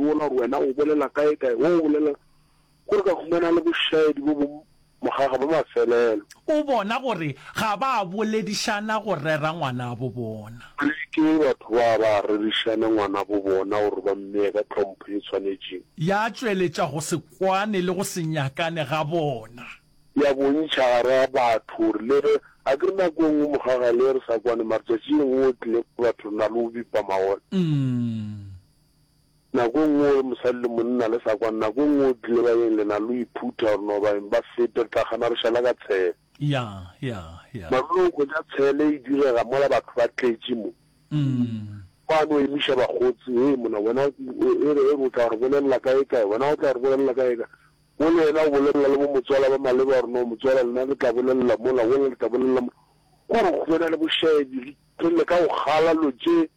wola gore wena o bolela kae kae, wo o bolela Gore ka humana le bošaedi bo bo mogaga ba mafelelo. O bona gore ga ba boledišana go rera ngwanabo bona. Re ke batho ba ba rerišane ngwanabo bona gore ba mmee ka tlhompho ye tshwanetšeng. Ya tšweletša go se kwane le go se nyakane ga bona. Ya bontšha gare ga batho gore le ge, a ke re nako e nngwe mogaga le ge re sa kwane mara tšatši le lengwe o tlile batho re na le go bipa magola. Nako e nngwe o re mosadi le monna le sa kwane, nako e nngwe o tlile baeng le na le go iphutha gore no baeng ba fete re tla gana re šala ka tshele. Ya, ya, ya. Mara o hwetša tshele e direga mola batho ba tletše mo. Ba no emiša bakgotsi, hei monna wena e re e re o tla re bolelela kae kae, wena o tla re bolelela kae kae. O le yena o bolelela le bo motswala ba maleba gore no motswala lena le tla bolelela mola, wola le tla bolelela mola. Kore go na le bošaedi, re leka go kgala lo tše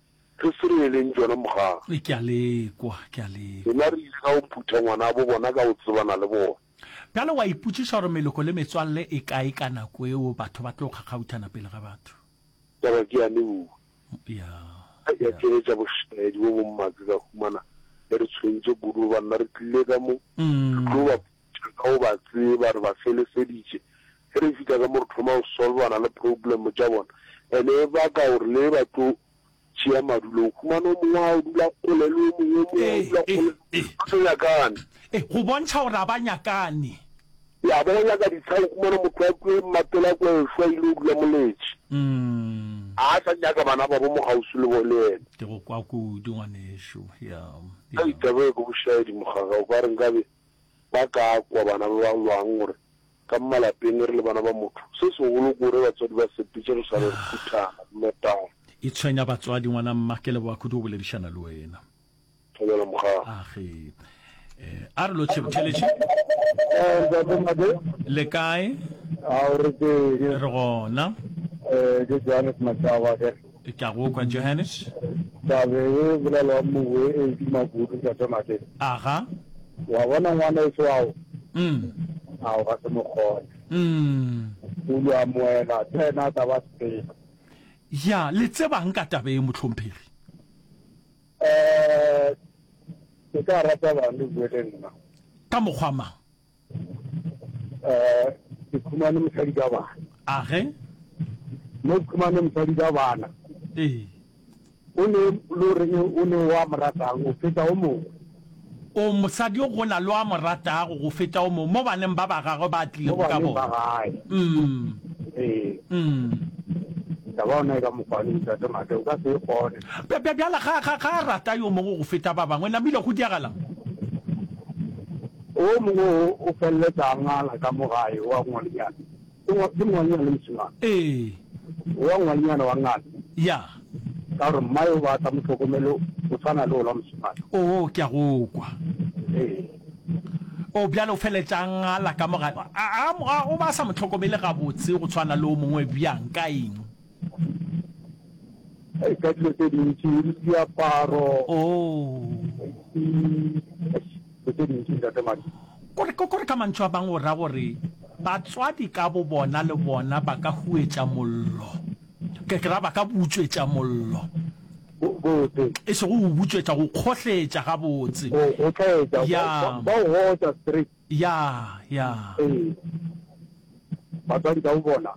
Re se re eleng tšona mogang. Ke a le kwa, ke a le kwa. Rena re ile ka go phutha ngwanabo bona ka go tsebana le bona. Bjale wa ipotšiša gore meloko le metswalle e kae ka nako eo batho ba tlo kgakgauthana pele ga batho. Taba ke yane ruri. Ya, Ya ya. tšweletša bošaedi bo bommatse ka humana e re tshwentše kudu gobane na re tlile ka mo re tlo ba phutha ka go ba tseba re ba feleseditše. Ge re fihla ka mo re thoma go solvana le problem tša bona ene e baka gore le ba tlo tšea madulo, o humana o mongwe a o dula kgole le o mongwe, o mongwe a o dula kgole, ba sa nyakane. Ee, go bontšha gore ga ba nyakane. Ya, ba go nyaka ditsha, o humana motho a kwe mmatela a kwe ešwa ile o dula moletše. A sa nyaka bana babo mo kgauswi le bo le yena. Ke go kwa kudu ngwanešu, ya, ya. Hei, taba e ke bošaedi mogaga, o ka re nkabe ba ka kwa bana ba ba lwang gore Ka mo malapeng re le bana ba motho, se segolo ke gore batswadi ba sepetše re sale re phuthana, re notana. E tshwenya batswadi ngwana mma, ke leboga kudu go boledišana le wena. Thobela mogaga. Age. Eh, a re lotšhe botheletše. Eh, ntate Made. Le kae? Ao re teng. Re gona. Eh, ke Johannes Mashaba ke. Ke a go kwa Johannes. Tabe e bolelwang mowe e tuma kudu ntate Made. Aga. Wa bona ngwana eso ao. Mm. Ao ga se mokgone. Mm. O lo amoela tsena tsa ba sepela. Ya, le tsebang ka taba e mohlomphegi? Eh, ke ka rata bang le bue le nna. Ka mokgwa mang? Eh, ke khumane mosadi ka bana. Age? Mo ke khumane mosadi ka bana. Ee. O ne lo reng o ne wa mo ratang o feta o mongwe. O mosadi o go na le wa mo ratago go feta o mongwe mo baneng ba ba gagwe ba tlilego ka bona. Mo baneng ba gae. Mm. Ee. Mm. Taba ona e ka mokgwa le ntate Mate o ka se e kgone. Bja, bja, bjala ga, ga, ga a rata yo mongwe go feta ba bangwe, namile go diagalang? O mongwe o, o feleletsa a ngala ka mo gae wa ngwanenyana. Ke ngwa, ke ngwanenyana le mošemane. Ee. Wa ngwanenyana wa ngala. Ya. Ka gore mmae o ba a sa mo hlokomele o tshwana le ola mošemane. Oo, ke a go kwa. Ee. O, bjale o feleletša a ngala ka mo gae. A, a, a, o ba a sa mo hlokomele gabotse go tshwana le o mongwe bjang, ka eng? Ei, ka dilo tše dintši, le diaparo. Oo. Dilo tše dintši, Ntate Madi. Kore, kore ka mantšu a bangwe o ra gore batswadi ka bobona le bona ba ka huetša mollo. Ke, ke ra ba ka butšwetša mollo. Botse. E sego go butšwetša, go kgohletša gabotse. Go kgohletša, Ya. ba o gotša straight. Ya, ya. Ee. Batswadi ka bobona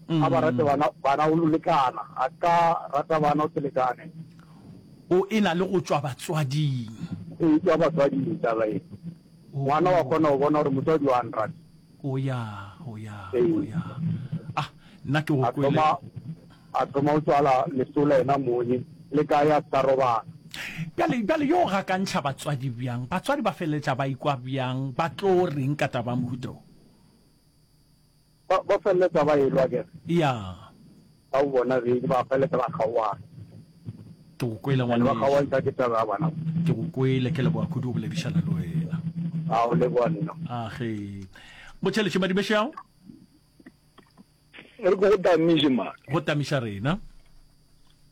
a ba rate bana, bana o lekana, a ka rata bana o se lekane. O e na le go tšwa batswading. E tšwa batswading taba e. Ngwana wa kgona go bona gore motswadi wa nrata. O ya, o ya, o ya. Ah, nna ke go kwele. A thoma, a thoma go tswala lesola yena mong, le kae a sa robala. Bjale, bjale yo gakantšha batswadi bjang? Batswadi ba feleletša ba ikwa bjang? Ba tlo reng ka taba ya mohuta wo? Ba, ba feleletša ba elwa akere? Ya. Ba o bona beng, ba feleletša ba kgaoana. Ke go kwele And ba ngwanešu. kgaoantšha ke taba ya bana. Ke go kwele, ke leboga kudu go boledišana le wena. A o leboga nna. A ge. Motšheletše Madibešao. Re ke go tamiše man. Go tamiša rena.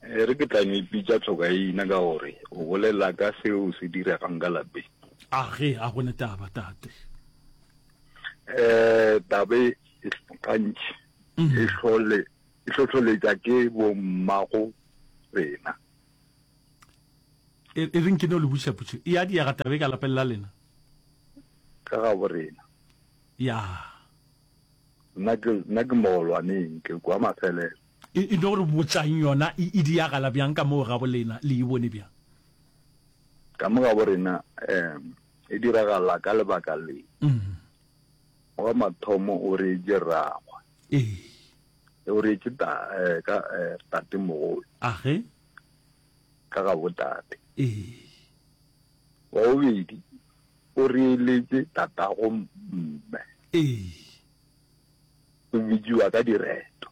E re ke tla no ipitša tlhokaina ka gore o bolela ka seo se diregang ka lapeng. A ge, a go ne taba, tate. Eh, taba e gantši e hlole e hlohloletša ke bommago rena. E, e reng ke no le botšiša potšo. E a diega taba e ka lapeng la lena? Ka gabo rena. Ya. Nna ke, nna ke mogolwaneng, ke kwa mafelelo. E, e no re botšang yona e, e diagala bjang ka moo gabo lena, le e bone bjang? Ka mo gabo rena, um, e diragala ka lebaka le. Mm. Wa mathomo o reetše rragwe. Ee. O reetše ta, eh, ka, eh, tatemogolo. Age. Ka gabo tate. Ee. Wa bobedi o reeletše tatago mme. Ee. O bitšiwa ka direto.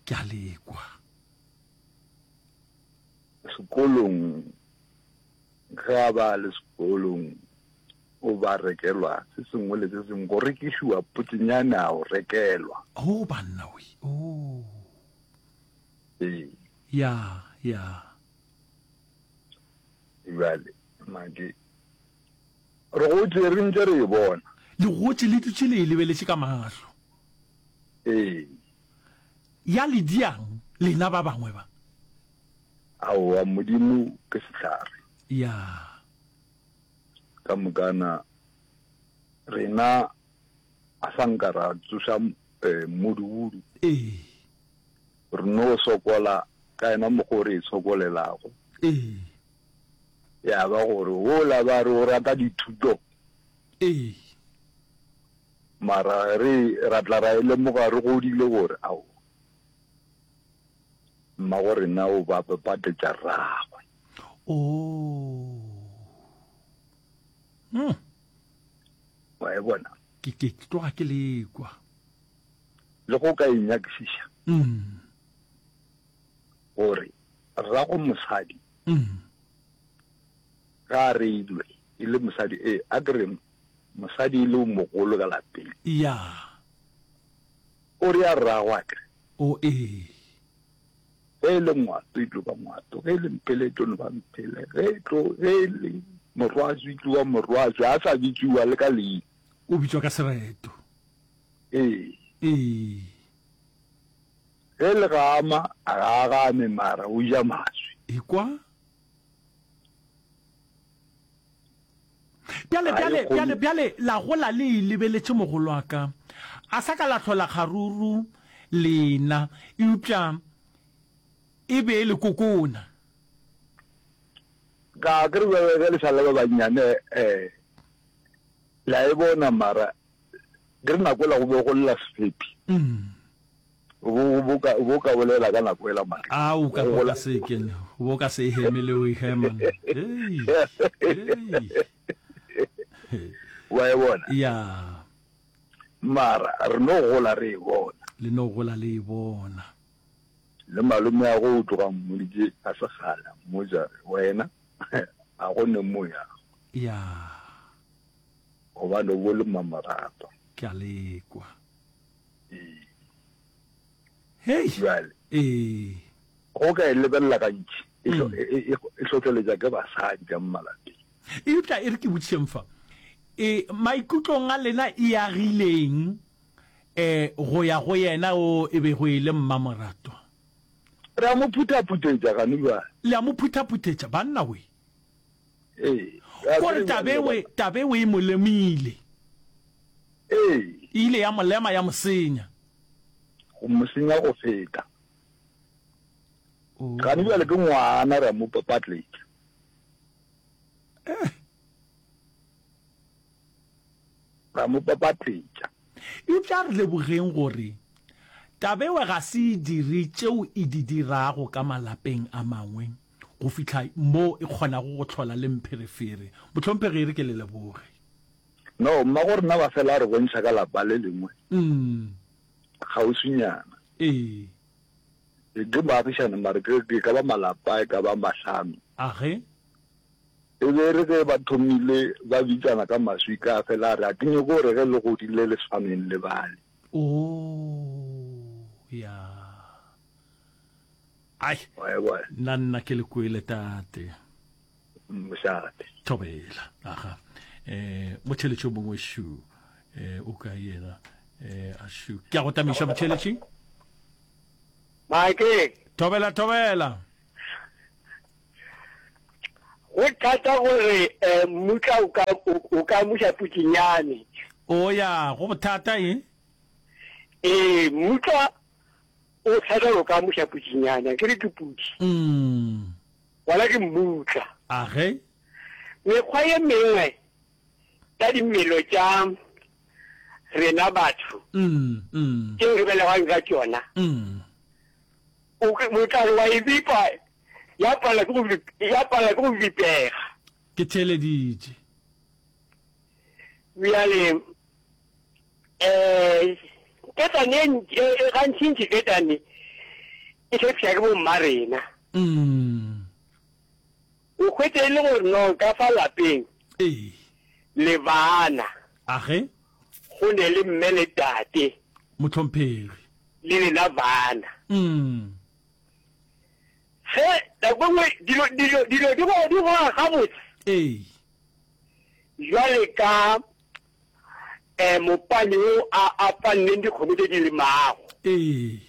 Ke a le kwa. Sekolong, ge a ba le sekolong o ba rekelwa se sengwe le se sengwe, go rekišiwa potsenyane a o rekelwa. Oh banna we, oh. Ee. Ya, ya. Bjale, Maki, re gotše re ntše re e bona. Le gotše le dutše le e lebeletše ka mahlo. Ee. Ya le diang lena ba bangwe ba? Aowa, Modimo ke sehlare. Ya. Ka mokana rena a sa nka ra tsoša mmudubudu. Ee. Re no sokola ka yena mokgwa o re e sokolelago. Ee. Ya ba gore wola ba re o rata dithuto. Ee. Mara re ra tla ra e lemoga re godile gore aowa, mmago rena o ba patetša rragwe. Oh. Hmm. Wa e bona? Ke ke tloga ke le kwa. Le go ka e nyakišiša. Mm. Gore rrago mosadi. Mm. Ga a reilwe e le mosadi e a ke re mosadi e le o mogolo ka lapeng. Ya. O re a rrago a kere. O ee. Ge e le ngwato e tlo ba ngwato, ge e le mphele e tlo no ba mphele, ge e tlo ge e le morwaswi e tlo ba morwaswi, a sa bitšiwa le ka leina. O bitšwa ka sereto. Ee. Ee. Ge le gama, a ga a game mara o ja maswi. Ekwa. Bjale, Ga e bjale, kgone. bjale, bjale la gola le e lebeletše mogolo wa ka. A sa ka la hlola kgaruru lena, eupša e be e le kokona. Ka ke re bjale ge le sa le ba bannyane, eh, le a e bona mara ke re nako ela go be go lla sefepi. Mm. O bo, o bo ka, o bo ka bolela ka nako ela mara. A o ka Go bo gola. ka se ke, o bo ka se e heme le o e hema. Hei, hei. Wa e bona? Ya. Mara re no gola re e bona. Le no gola le e bona. Le malome a go o tloga mmoditše a se kgale, a mmotša wena a go ne mo yago. Ya. Gobane o bo le mmamoratwa. Ke a le kwa. Ee. Hei. Bjale. Ee. Go ka e lebelela gantši, e hlo, e, e, e hlohleletša ke basadi ka mo malapeng. Eupša e re ke botšišeng fa, e, maikutlong a lena e agileng e, go ya go yena o e bego e le mmamoratwa? Re a mo phuthaphutetša gane bjale. Le a mo phuthaphutetša, banna we. Ee. Kore tabewe, tabewe e mo lemile. Ee. E ile ya mo lema ya mo senya. Go mo senya go feta. Oh. Gane bjale ke ngwana re a mo papatletša. Eh. Ra mo papatletša. Eupša a re lebogeng gore tabewe ga se e dire tšeo e di dirago ka malapeng a mangwe. go fihla mo e kgonago go hlola le mpherefere. Mohlomphegi, e re ke le leboge. No, mmago rena ba fela a re bontšha ka lapa le lengwe Mm. kgauswinyana. Ee. Ke baagišane mare ke ke ka ba malapa e ka ba mahlano. Age. E be e re ge ba thomile ba bitsana ka maswika a fela a re a ke nyoko gore ge le godile le swaneng le bale. Oh, ya. Ai, Wa e bona? nna nna ke le kwele tate. Mošate. Thobela. Aga. Eh, motheletši o mongwe šu. Eh, o ka yena. Eh, a šu. Ke a go tamiša motheletši. Mike. Thobela, thobela. Go thata gore mmutla o ka, o ka amuša putšenyane. O ya, go bothata e? Ee, mmutla o thata gore o ka amuša putšenyane, a ke re ke putši. Gona ke mmutla. A ge? Mekgwa ye mengwe ya dimelo tša rena batho tšeo re belegwang ka tšona, o, o tla re wa e bipa ya palela ke go, ya palela ke go bipega. Ke theeleditše. Bjale, um ketane e ntši, e, e, gantšintši ketane e hlepša ke bomma rena. Mm. O hwetše e le gore no ka fa lapeng Ee. le bana. Age? Go ne le mme le tate. Mohlomphegi. Le lena bana. Mm. Ge nako e nngwe dilo, dilo, dilo di go, di goga gabotse. Ee. Bjale ka eh, mopani wo a, a panneng dikgomo tše di lemago. Ee.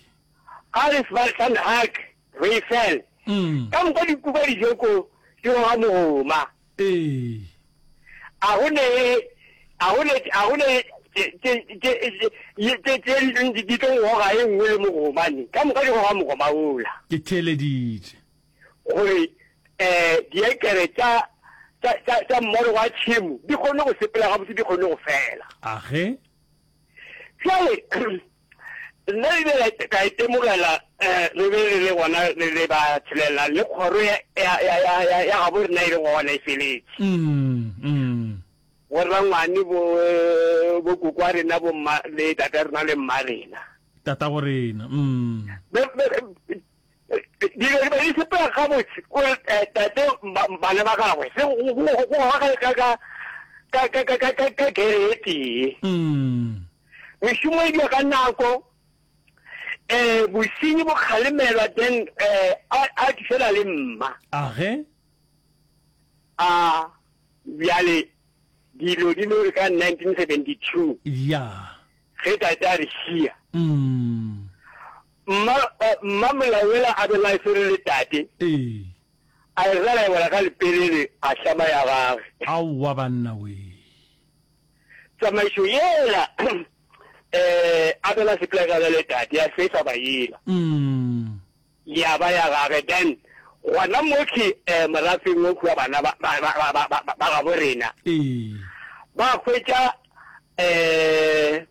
Ga re Svan Hak, Reifel, Mm. ka moka di kuka dijoko di goga mogoma. Ee. A go ne, a go ne, a go ne tše, tše, tše, tše, tše, tše di, di tlo goga e nngwe le mogoma ne. Ka moka di goga mogoma wola. Ke theeleditše. Gore, eh, diekere tša, tša, tša, tša mmoro wa tšhemo di kgone go sepela gabotse, di kgone go fela. A ge? Bjale, Nna ebile ka, ka itemogela eh, re be re le gona re le ba tshelela le kgoro ya, ya, ya, ya, ya, ya gabo rena e le gona e feletše. Mm, mm. Bo rangwane bo, eh, bo koko wa rena bo mma le tata rena le mma rena. Tata go rena. Mm. Be, be, dilo di be di sepela gabotse ko eh, tate bana ba gagwe se go go go ka ka ka ka ka ka ka ka gere e tee. Mm. Mešomo e dira ka nako, um bosenyi bo kgalemelwa then um a, a tšwela le mma. A ge? A bjale dilo di no re ka 1972. Ya. Ge tate a re šia. Mm. Mma, eh, mma Molaoela a be la swere le tate. Ee. A e rela e wela ka lepelele a hlama ya gagwe. Aowa banna wee. Tsamaišo yela eh a bela sepela ka le tate ya fetsa ba yela. Mm. Ya ba ya gage then gona motlhe eh morafeng o kua bana ba ba ba ba ba ba gabo rena. Ee. Ba hwetša eh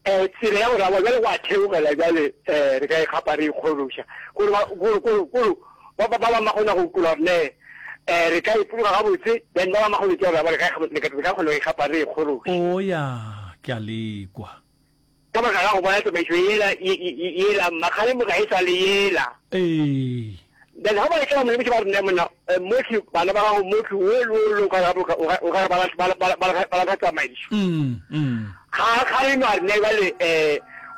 eh tsela ya gore aowa bjale go a theogela bjale eh re ka ikgapa re ikgološa kore ba kore kore kore ba ba ba ba kgona go kula gore ne eh re ka ipoloka gabotse then ba ba ba kgona go re ka re ka kgona go ikgapa re ikgološa. O ya ke a lekwa. Ka baka la go bona tsamaišo yela yela mmakgalemo ga e sa le yela. Ee. Then ga ba etla ba mo lemoša ba re ne monna motlhe bana ba gago motlhe wo le wo le o ka re o ka re ba lahla tsamaišo. Ga a kgalema a re ne bjale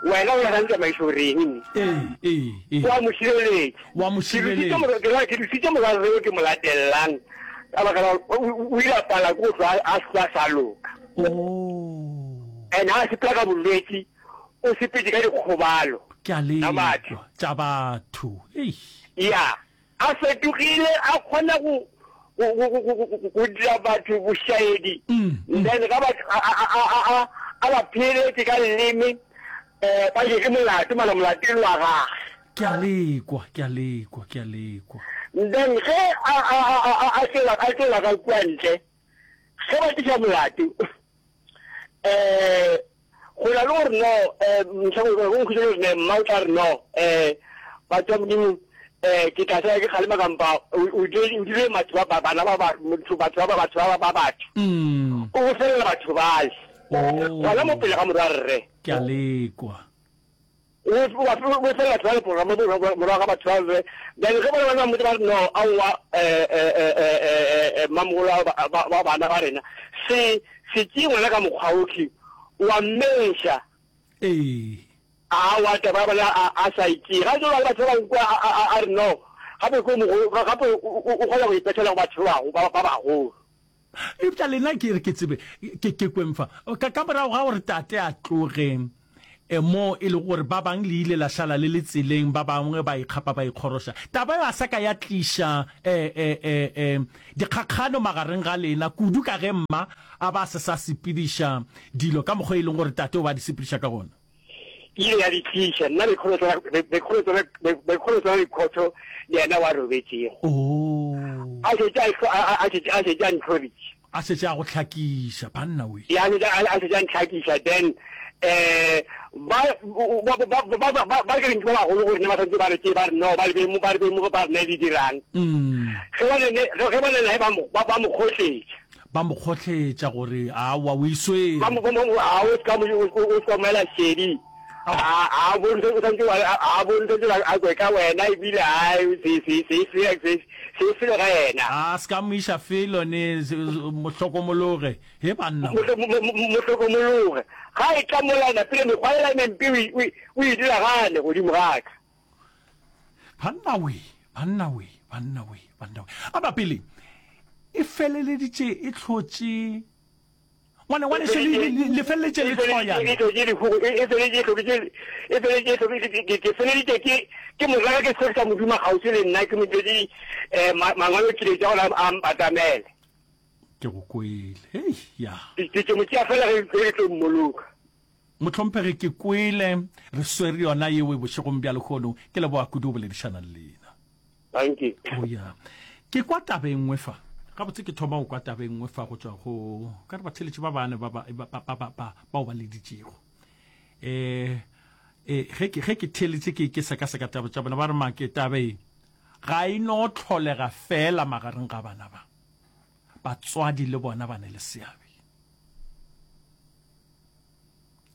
um wena o lahlang tsamaišo reng ne? Wa mo šireletša. Wa mo šireletša. Ke dusitše morwarre yo ke mo latelelang ka baka la gore o ile a pala ke go hlwa a hlwa sa loka. And ga a sepela ka bolwetši o sepetše ka dikgobalo Ke a tša batho. lekwa, tša batho. Eish. Ya, a fetogile, a kgona go, go, go, go, go, go, go dira batho bošaedi. Then ga ba, a, a, a, a, a, a ba pheeletše ka leleme, um ba je ke molato, mara molato e le wa gage. Ke a lekwa, ke a lekwa, ke a lekwa. Then ge a, a, a, a, a, a tšwela, a tšwela ka kua ntle, ge ba tliša molato, um Go na le gore no, um go nkhutša le gore ne mma o tla re no, um batho ba Modimo, um ke tla sala ke kgalema kampa o dire batho ba bana ba batho batho ba batho ba ba batho. Mm. O bofelela batho bale. Oh. Gona mo pele ga morwa rre. Ke a lekwa. O bofelela batho bale morago ga batho ba rre. Then ge bona ba mmotsa ba re no, aowa mmamogolo wa bana ba rena, se se tšee ngwana ka mokgwa ohle, wa mmeša. Ee. Aowa taba ya bona a sa e tšee. Ga jalo batho ba bangwe kwa a re no, gape ke o mogolo, gape o kgona go ipethela go batho ba bagolo. Eupša lena ke re ke tsebe, ke, ke kweng fa. Ka, ka morago ga gore tate a tloge, E, mo e lego gore ba bang le ile la šala le le tseleng, ba bangwe ba ikgapa ba ikgoroša. Taba eo a sa ka ya tliša e, e, e, e, dikgakgano magareng ga lena, kudu ka ge mma a ba a se sa sepediša dilo ka mokgwa e leng gore tate o ba a di sepediša ka gona. E ile ya di tliša. Nna be ke tsena dikhotho le yena wa robetšego. Oh. A šetše a, a, a šetše a ntlhoritše. A šetše a go hlakiša, banna we. Ya, a šetše a šetše a ntlhakiša, then eh ba ba ba ba ba ba ba ke ba bagolo go rena ba santse ba re ke ba re no ba le be mo ba re be mo ba rena di dirang. Ge ba ne ge ba ne ba mo ba mo kgotletša. Ba mo kgotletša gore aowa o iswere. Ba mo ba mo a o ska mo o ska mo ela šedi. A a bontshe o santse a bontshe a kwe ka wena ebile a se se se se se se felo ga yena. A ska mo iša felo ne mo hlokomologe he banna. Mo hlokomologe ga e tla mola napile mekgwa ela e mempe o e dira gane godimo ga ka. Banna we, banna we, banna we, banna we. A ba pele e feleleditše e hlotše Ngwane, ngwanešu, le, le, le, le feleletše le hloyana. E hlotše lehu, e, e feletše e hloketše, e feletše e hloketše, ke, ke, ke feleditše ke, ke mo raka ke se sa mo duma kgauswi le nna, ke mo diretše, eh, ma, mangwalo kiletša gore a, a mpatamele. Ke go kwele. Hei, ya. Ke, ke, ke mo tšea fela ge, ge ke tlo mmoloka. Mohlomphegi, ke kwele. Re swere yona yeo bošegong bja lehono. Ke leboga kudu go boledišana le lena. Dankie. Oh ya. Ke kwa taba e nngwe fa. Gabotse ke thoma go kwa taba e nngwe fa go tšwa go ka re batheletši ba bane ba ba ba ba ba ba bao ba leditšego. Eh eh ge ke ge ke theletše ke ke sekaseka taba tša bona ba re make taba e ga e no tlholega fela magareng ga bana ba. Batswadi le bona ba ne le seabe.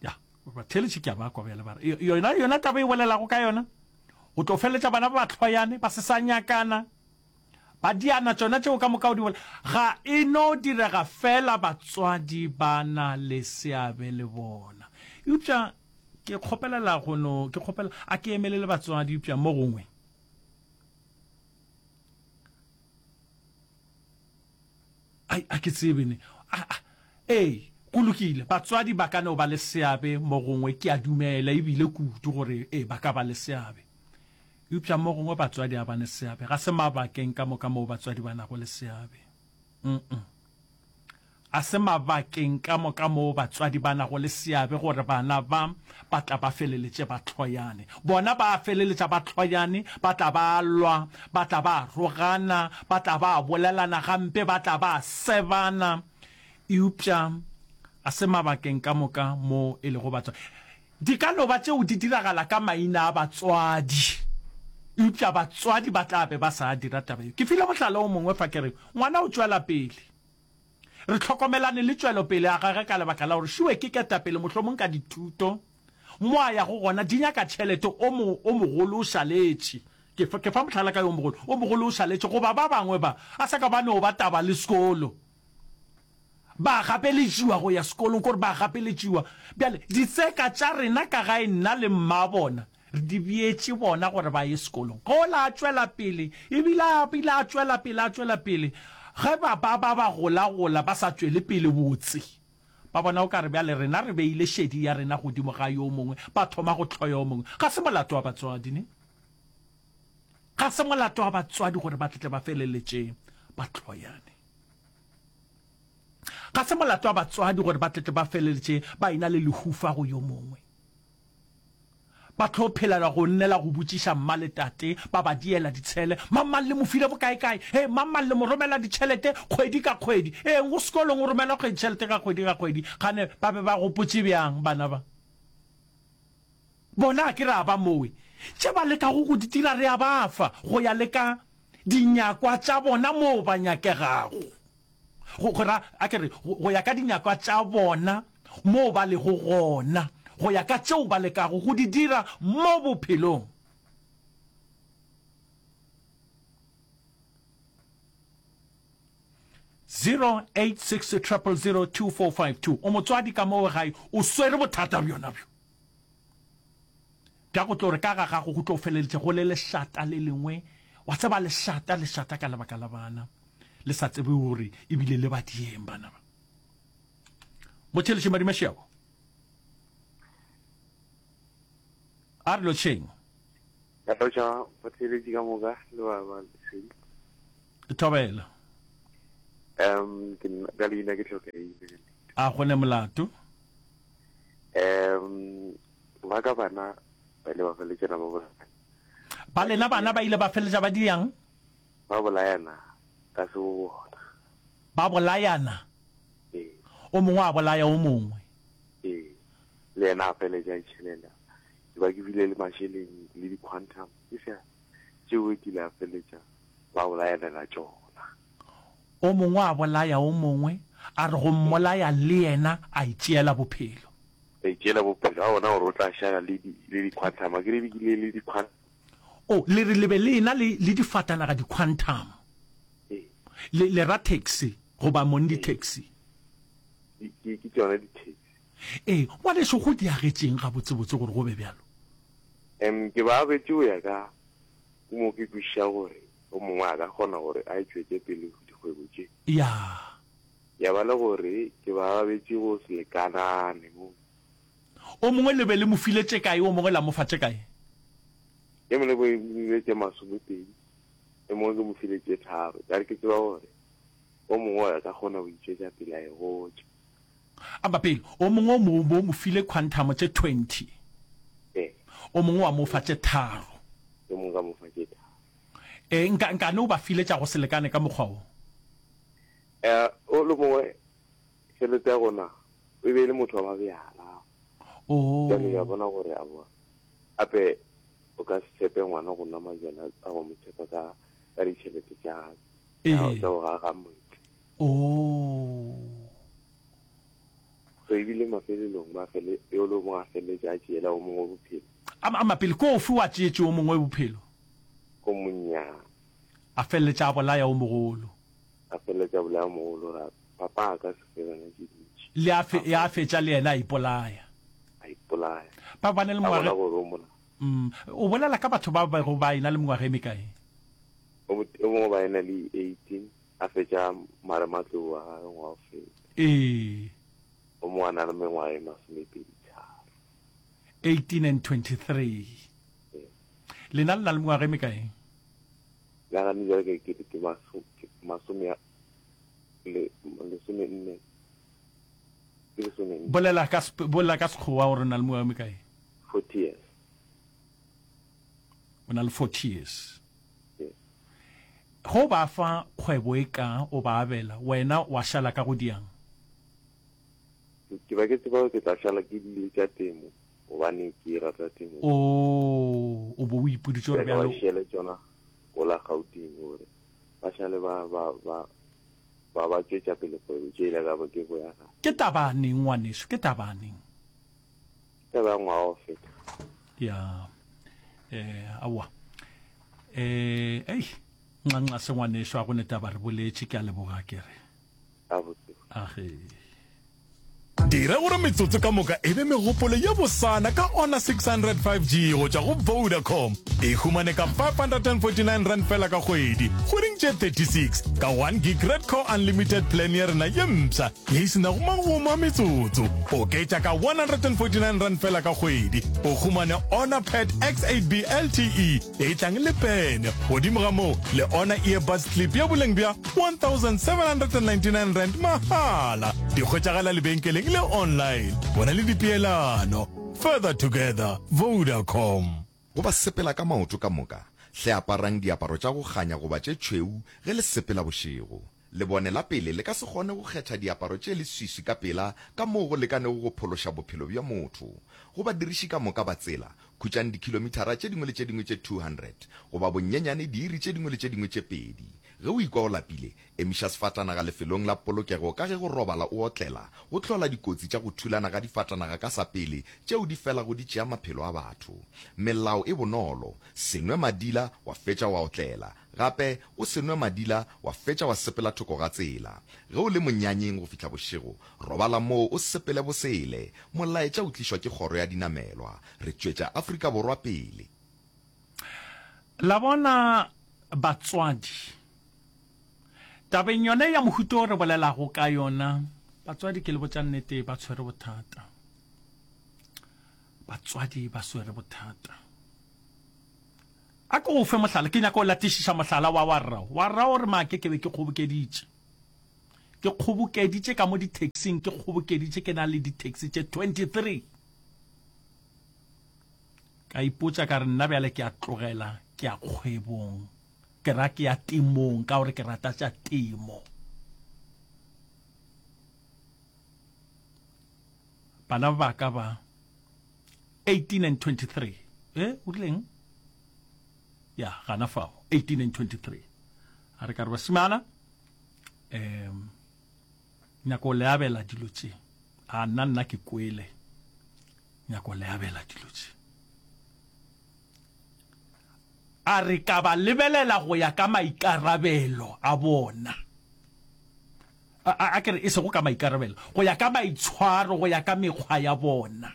Ya, batheletši ke a ba kwa bjale ba re yona yona taba e bolelago ka yona go tlo feleletša bana ba ba hloyane ba se sa nyakana ba diana tšona tšeo ka moka o di bolela ga e no direga fela batswadi ba na le seabe le bona eupša ke kgopelela go no ke kgopela a ke emelele batswadi eupša mo gongwe Ai, a ke tsebe ne. A, a, ee, go lokile, batswadi ba ka no ba le seabe mo gongwe, ke a dumela ebile kudu gore ee, ba ka ba le seabe. Eupša mo gongwe batswadi ga ba ne seabe. Ga se mabakeng ka moka moo batswadi ba nago le seabe. Mm-mm. A se mabakeng ka moka moo batswadi ba nago le seabe gore bana ba ba tla ba feleletše ba hloyane. Bona ba feleletša ba hloyane, ba tla ba lwa, ba tla ba rogana, ba tla ba bolelana gampe, ba tla ba sebana. Eupša a se mabakeng ka moka mo e lego batswadi. Di ka no ba tšeo di diragala ka maina a batswadi, eupša batswadi ba tla be ba sa dira taba yeo. Ke file mohlala o mongwe fa ke re, ngwana o tšwela pele. Re hlokomelane le tšwelopele ya gagwe ka lebaka la gore Shuwe ke ketapele mohlomong ka dithuto. Mo a yago gona di nyaka tšhelete, o mo, o mogolo o šaletše. Ke fa, ke fa mohlala ka yo mogolo, o mogolo o šaletše goba ba bangwe ba a sa ka ba no ba taba le sekolo. Ba gapeletšiwa go ya sekolong, kore ba gapeletšiwa. Bjale ditseka tša rena ka gae nna le mmabona Re di beetše bona gore ba ye sekolong. Ge ola a tšwela pele, ebile a bile a tšwela pele, a tšwela pele, ge ba ba ba ba golagola ba sa tšwele pele botse, ba bona o ka re bjale rena re beile šedi ya rena godimo ga yo mongwe, ba thoma go hloya yo mongwe. Ga se molato wa batswadi, ne? Ga se molato wa batswadi gore ba tle ba feleletše ba hloyane. Ga se molato wa batswadi gore ba tle ba feleletše ba ena le lehufa go yo mongwe. Ba tlo phelela go nnela go botšiša mma le tate, ba ba diela ditshele. Mang-mang le mo file bokae-kae? Hee, mang-mang le mo romela ditšhelete kgwedi ka kgwedi. Eng, go sekolong o romela kgwedi tšhelete ka kgwedi ka kgwedi. Kgane ba be ba gopotše bjang bana ba? Bona a ke re a ba mowe. Tše ba lekago go di dira re a ba fa, go ya le ka dinyakwa tša bona moo ba nyakegago. Go, go ra, a ke re, go, go ya ka dinyakwa tša bona moo ba lego gona, go ya ka tšeo ba lekago go di dira mo bophelong. 0860002452 O motswadi ka moo gae, o swere bothata bjona bjo bja go tlo re ka ga gago go tlo feleletše go le lešata le lengwe, wa tseba lešata, lešata ka lebaka la bana. Le sa tsebe gore ebile le ba dieng bana ba. Motheletši Madimašego. A re lotšheng. Ka lotšha batheeletši ka moka le ba ba lesedi. Thobela. Um ke nna ka leina ke Tlhokaile. A go ne molato. Um ba ka bana ba ile ba feletšana ba bolayana. Ba lena bana ba ile ba feleletša ba diang? Ba bolayana ka se bo bona. Ba bolayana? Ee. O mongwe a bolaya o mongwe? Ee. Le yena a feletša a itšhelela. Ke ba ke bile le mašeleng le di-quantum ke sa tšeo ke ile a feletša ba bolayanela tšona. O mongwe a bolaya o mongwe, a re go mmolaya le yena a itšeela bophelo. A itšeela bophelo, a bona gore o tla šala le di, le di-quantum. A ke re ke le di-quantum. O, le re le be le ena le, le difatanaga di-quantum. Ee. Le, le ra taxi goba mong di-taxi? Ke, ke, ke tšona di-taxi. Ee, ngwanešu, go diagetšeng gabotsebotse gore go be bjalo? Em, ke ba abetše go ya ka mo ke kwešiša gore o mongwe a ka kgona gore a e tšwetše pele dikgwebo tše. Ya. Ya ba le gore ke ba abetše go se lekanane mo. O mongwe le be le mo file tše kae, o mongwe la mo fa tše kae? E mongwe ke mo file tše masomepedi, e mongwe ke mo file tše tharo. Ka re ke tseba gore o mongwe a ka kgona go itšwetša pele a e gotša. Amba pele, o mongwe o mo, o mo file khwanthamo tše 20. Ee. O mongwe wa mo fa tše tharo. O mongwe ka mo fa tše tharo. Ee, nka, nkane o ba file tša go se lekane ka mokgwa wo? Ee, o le mongwe tšhelete ya gona e be e le motho wa mabjala. Oh. Bjale ya bona gore aowa, gape o ka se tshepe ngwana go nwa majwala a go mo tshepa ka, ka ditšhelete tša, tša, Ee. tša go aga motse. Oh. So ebile mafelelong ba fele, yo le mongwe a feleletše a tšeela o mongwe bophelo. A, a mapele, ke ofe o a tšeetše o mongwe bophelo? O monnyane. A feleletša a bolaya o mogolo. A feleletša a bolaya o mogolo, ra papa a ka se fe bana tše dintši. Le a fe, ya fetša le yena a ipolaya. A ipolaya. Ba ba ne le A mengwaga. bona gore o mona. Mm, o bolela ka batho ba bego ba ena le mengwaga e mekae? O mongwe ba ena le 18. A fetša marematlou wa gagwe ngwaga o feta. Ee. O mongwe a na le mengwaga e masomepeditharo. 18 and 23. Ee. Lena le na le mengwaga e mekae? La gane bjale ka ke ke maso, ke masome a, le, lesomenne. Ke lesomenne. Bolela ka, bolela ka Sekgowa gore o na le mengwaga e mekae. 40 years. O na le 40 years. Ge o ba fa kgwebo e ka o ba abela, wena wa šala ka go diang? Ke ba ke tseba gore ke tla šala ke dile tša temo, gobane ke rata temo. O, o bo o ipoditše gore Ke ba bjalo. šiele tšona gola Gauteng gore ba šale ba, ba, ba, ba, ba tšwetša pele kgwebo tše ile ka ba ke boya gae. Ke taba neng, ngwaneso? Ke taba neng? Ke taba ya ngwaga wa go feta. Ya, eh, aowa. Eh, ei, nxa se ngwaneso a go ne taba re boletše, ke a leboga ke re. Age. Dira gore metsotso ka moka e be megopolo ye bosana ka Honor 600 5G go tšwa go Vodacom. E humane ka R549 fela ka kgwedi, kgweding tše 36, ka 1 gig Red Core Unlimited plan ya rena ye mpsha ye e se nago magomo a metsotso. Oketša ka R149 fela ka kgwedi, o humane Honor Pad X8B LTE e tlang le pene. Godimo ga moo, le Honor Earbuds Clip ya boleng bja R1799 mahala. Di hwetšagala lebenkeleng le online. Bona le dipeelano. Further together, Vodacom. Go ba sepela ka maoto ka moka, hle aparang diaparo tša go kganya goba tše tšhweu ge le sepela bošego. Lebone la pele le ka se kgone go kgetha diaparo tše leswiswi ka pela ka moo go lekanego go phološa bophelo bja motho. Go badiriši ka moka ba tsela, khutšang dikhilomithara tše dingwe le tše dingwe tše 200 goba bonyenyane diiri tše dingwe le tše dingwe tše pedi. Ge o ikwa o lapile, emiša sefatanaga lefelong la polokego ka ge go robala o otlela go hlola dikotsi tša go thulana ga difatanaga ka sa pele tšeo di felago di tšea maphelo a batho. Melao e bonolo, se nwe madila wa fetša wa otlela. Gape, o se nwe madila wa fetša wa sepela thoko ga tsela. Ge o le monyanyeng go fihla bošego, robala moo o sepele bosele. Molaetša o tlišwa ke Kgoro ya Dinamelwa. Re tšwetša Afrika Borwa pele. La bona, batswadi, tabeng yona ya mohuta o re bolelago ka yona, batswadi ke le botša nnete ba tshwere bothata. Batswadi ba swere bothata. A ke go fe mohlala, ke nyaka go latišiša mohlala wa wa rrao. Wa rrao o re make ke be ke kgobokeditše. Ke kgobokeditše ka mo di-taxing, ke kgobokeditše ke na le di-taxi tše 23. Ka ipotša ka re nna bjale ke a tlogela, ke ya kgwebong, ke ra ke ya temong ka gore ke rata tša temo. Bana ba ka ba 18 and 23. Eh, o rileng? Ya, gana fao. 18 and 23. A re ka re basimana, um nyako le abela dilo tše. A nna nna ke kwele. Nyako le abela dilo tše. A re ka ba lebelela go ya ka maikarabelo a bona. A, a, a ke re e sego ka maikarabelo, go ya ka maitshwaro, go ya ka mekgwa ya bona.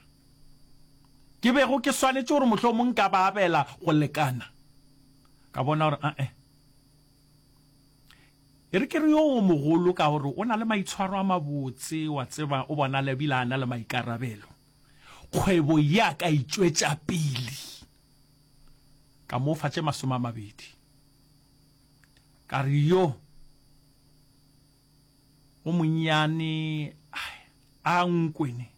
Ke bego ke swanetše gore mohlomong nka ba abela go lekana. Ka bona gore ae. E re ke re yo mogolo ka gore o na le maitshwaro a mabotse, wa tseba, o bonala ebile a na le maikarabelo. Kgwebo ye a ka e tšwetša pele. Ka mo fa tše 20. Ka re yo o monnyane a nkwene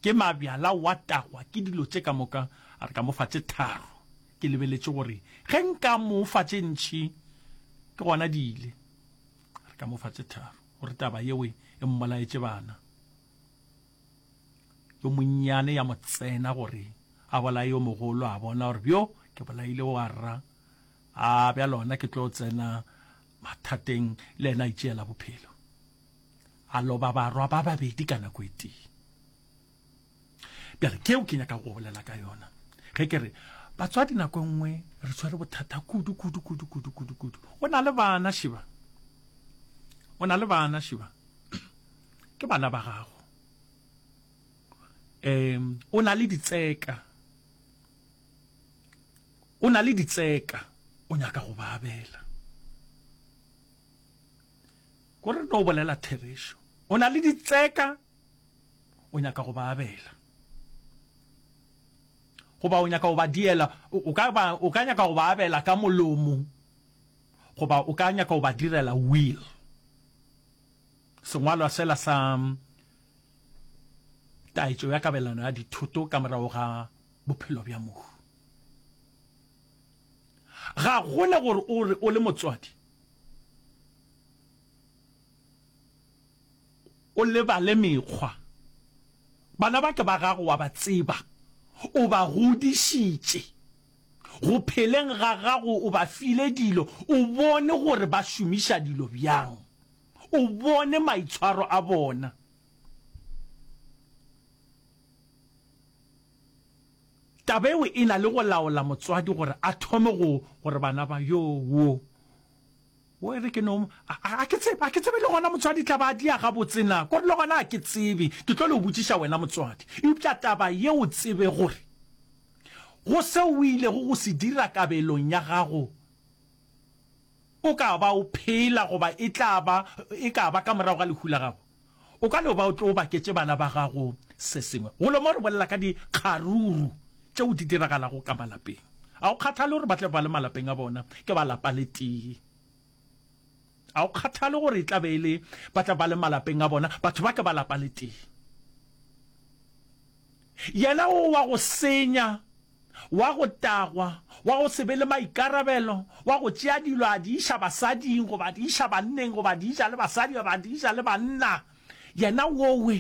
ke mabjala wa tagwa ke dilo tše ka moka, a re ka mo fa tše tharo. Ke lebeletše gore ge nka mo fa tše ntši ke gona di ile. A re ka mo fa tše tharo gore taba yeo e mmolaetše bana. Yo monnyane ya mo tsena gore a bolaye yo mogolo, a bona gore bjo ke bolaile wa rra, a bjale gona ke tlo tsena mathateng, le yena a itšeela bophelo. A loba barwa ba babedi ka nako e tee. Bjale keo ke nyaka go bolela ka yona ge ke re batswadi nako e nngwe re tshwere bothata kudu kudu kudu kudu kudu kudu. O na le bana Shiba, o na le bana Shiba, ke bana ba gago. Um o na le ditseka, o na le ditseka, o nyaka go ba abela. Ko re no bolela therešo, o na le ditseka, o nyaka go ba abela, goba o nyaka go ba diela, o ka ba, o ka nyaka go ba abela ka molomo, goba o ka nyaka go ba direla will. Sengwalwa sela sa taetšo ya kabelano ya dithoto ka morago ga bophelo bja mohu. Ga gona gore o re o le motswadi o lebale mekgwa. Bana ba ke ba gago wa ba tseba, o ba godišitše. Go pheleng ga gago o ba file dilo, o bone gore ba šomiša dilo bjang. O bone maitshwaro a bona. Taba eo e na le go laola motswadi gore a thome go gore bana ba yo wo wo e re ke no a ke tsebe a ke tsebe le gona motswadi tla ba dia gabotse na kore le gona a ke tsebe ke tlo le botšiša wena motswadi eupša taba yeo tsebe gore go seo o ilego go se dira kabelong ya gago O ka ba o phela goba e tla ba, e ka ba ka morago ga lehu la gago. O ka no ba o tlo baketše bana ba gago se sengwe. Golo mo re bolela ka dikgaruru tšeo di diragalago ka malapeng. A o kgathale gore ba tla be ba le malapeng a bona, ke ba lapa le tee. A o kgathale gore e tla be e le ba tla ba le malapeng a bona, batho ba ke ba lapa le tee. Yena o wa go senya wa go tagwa, wa go se be le maikarabelo, wa go tšea dilo a di iša basading goba a di iša banneng goba a di iša le basadi goba a di iša le banna, yena wowe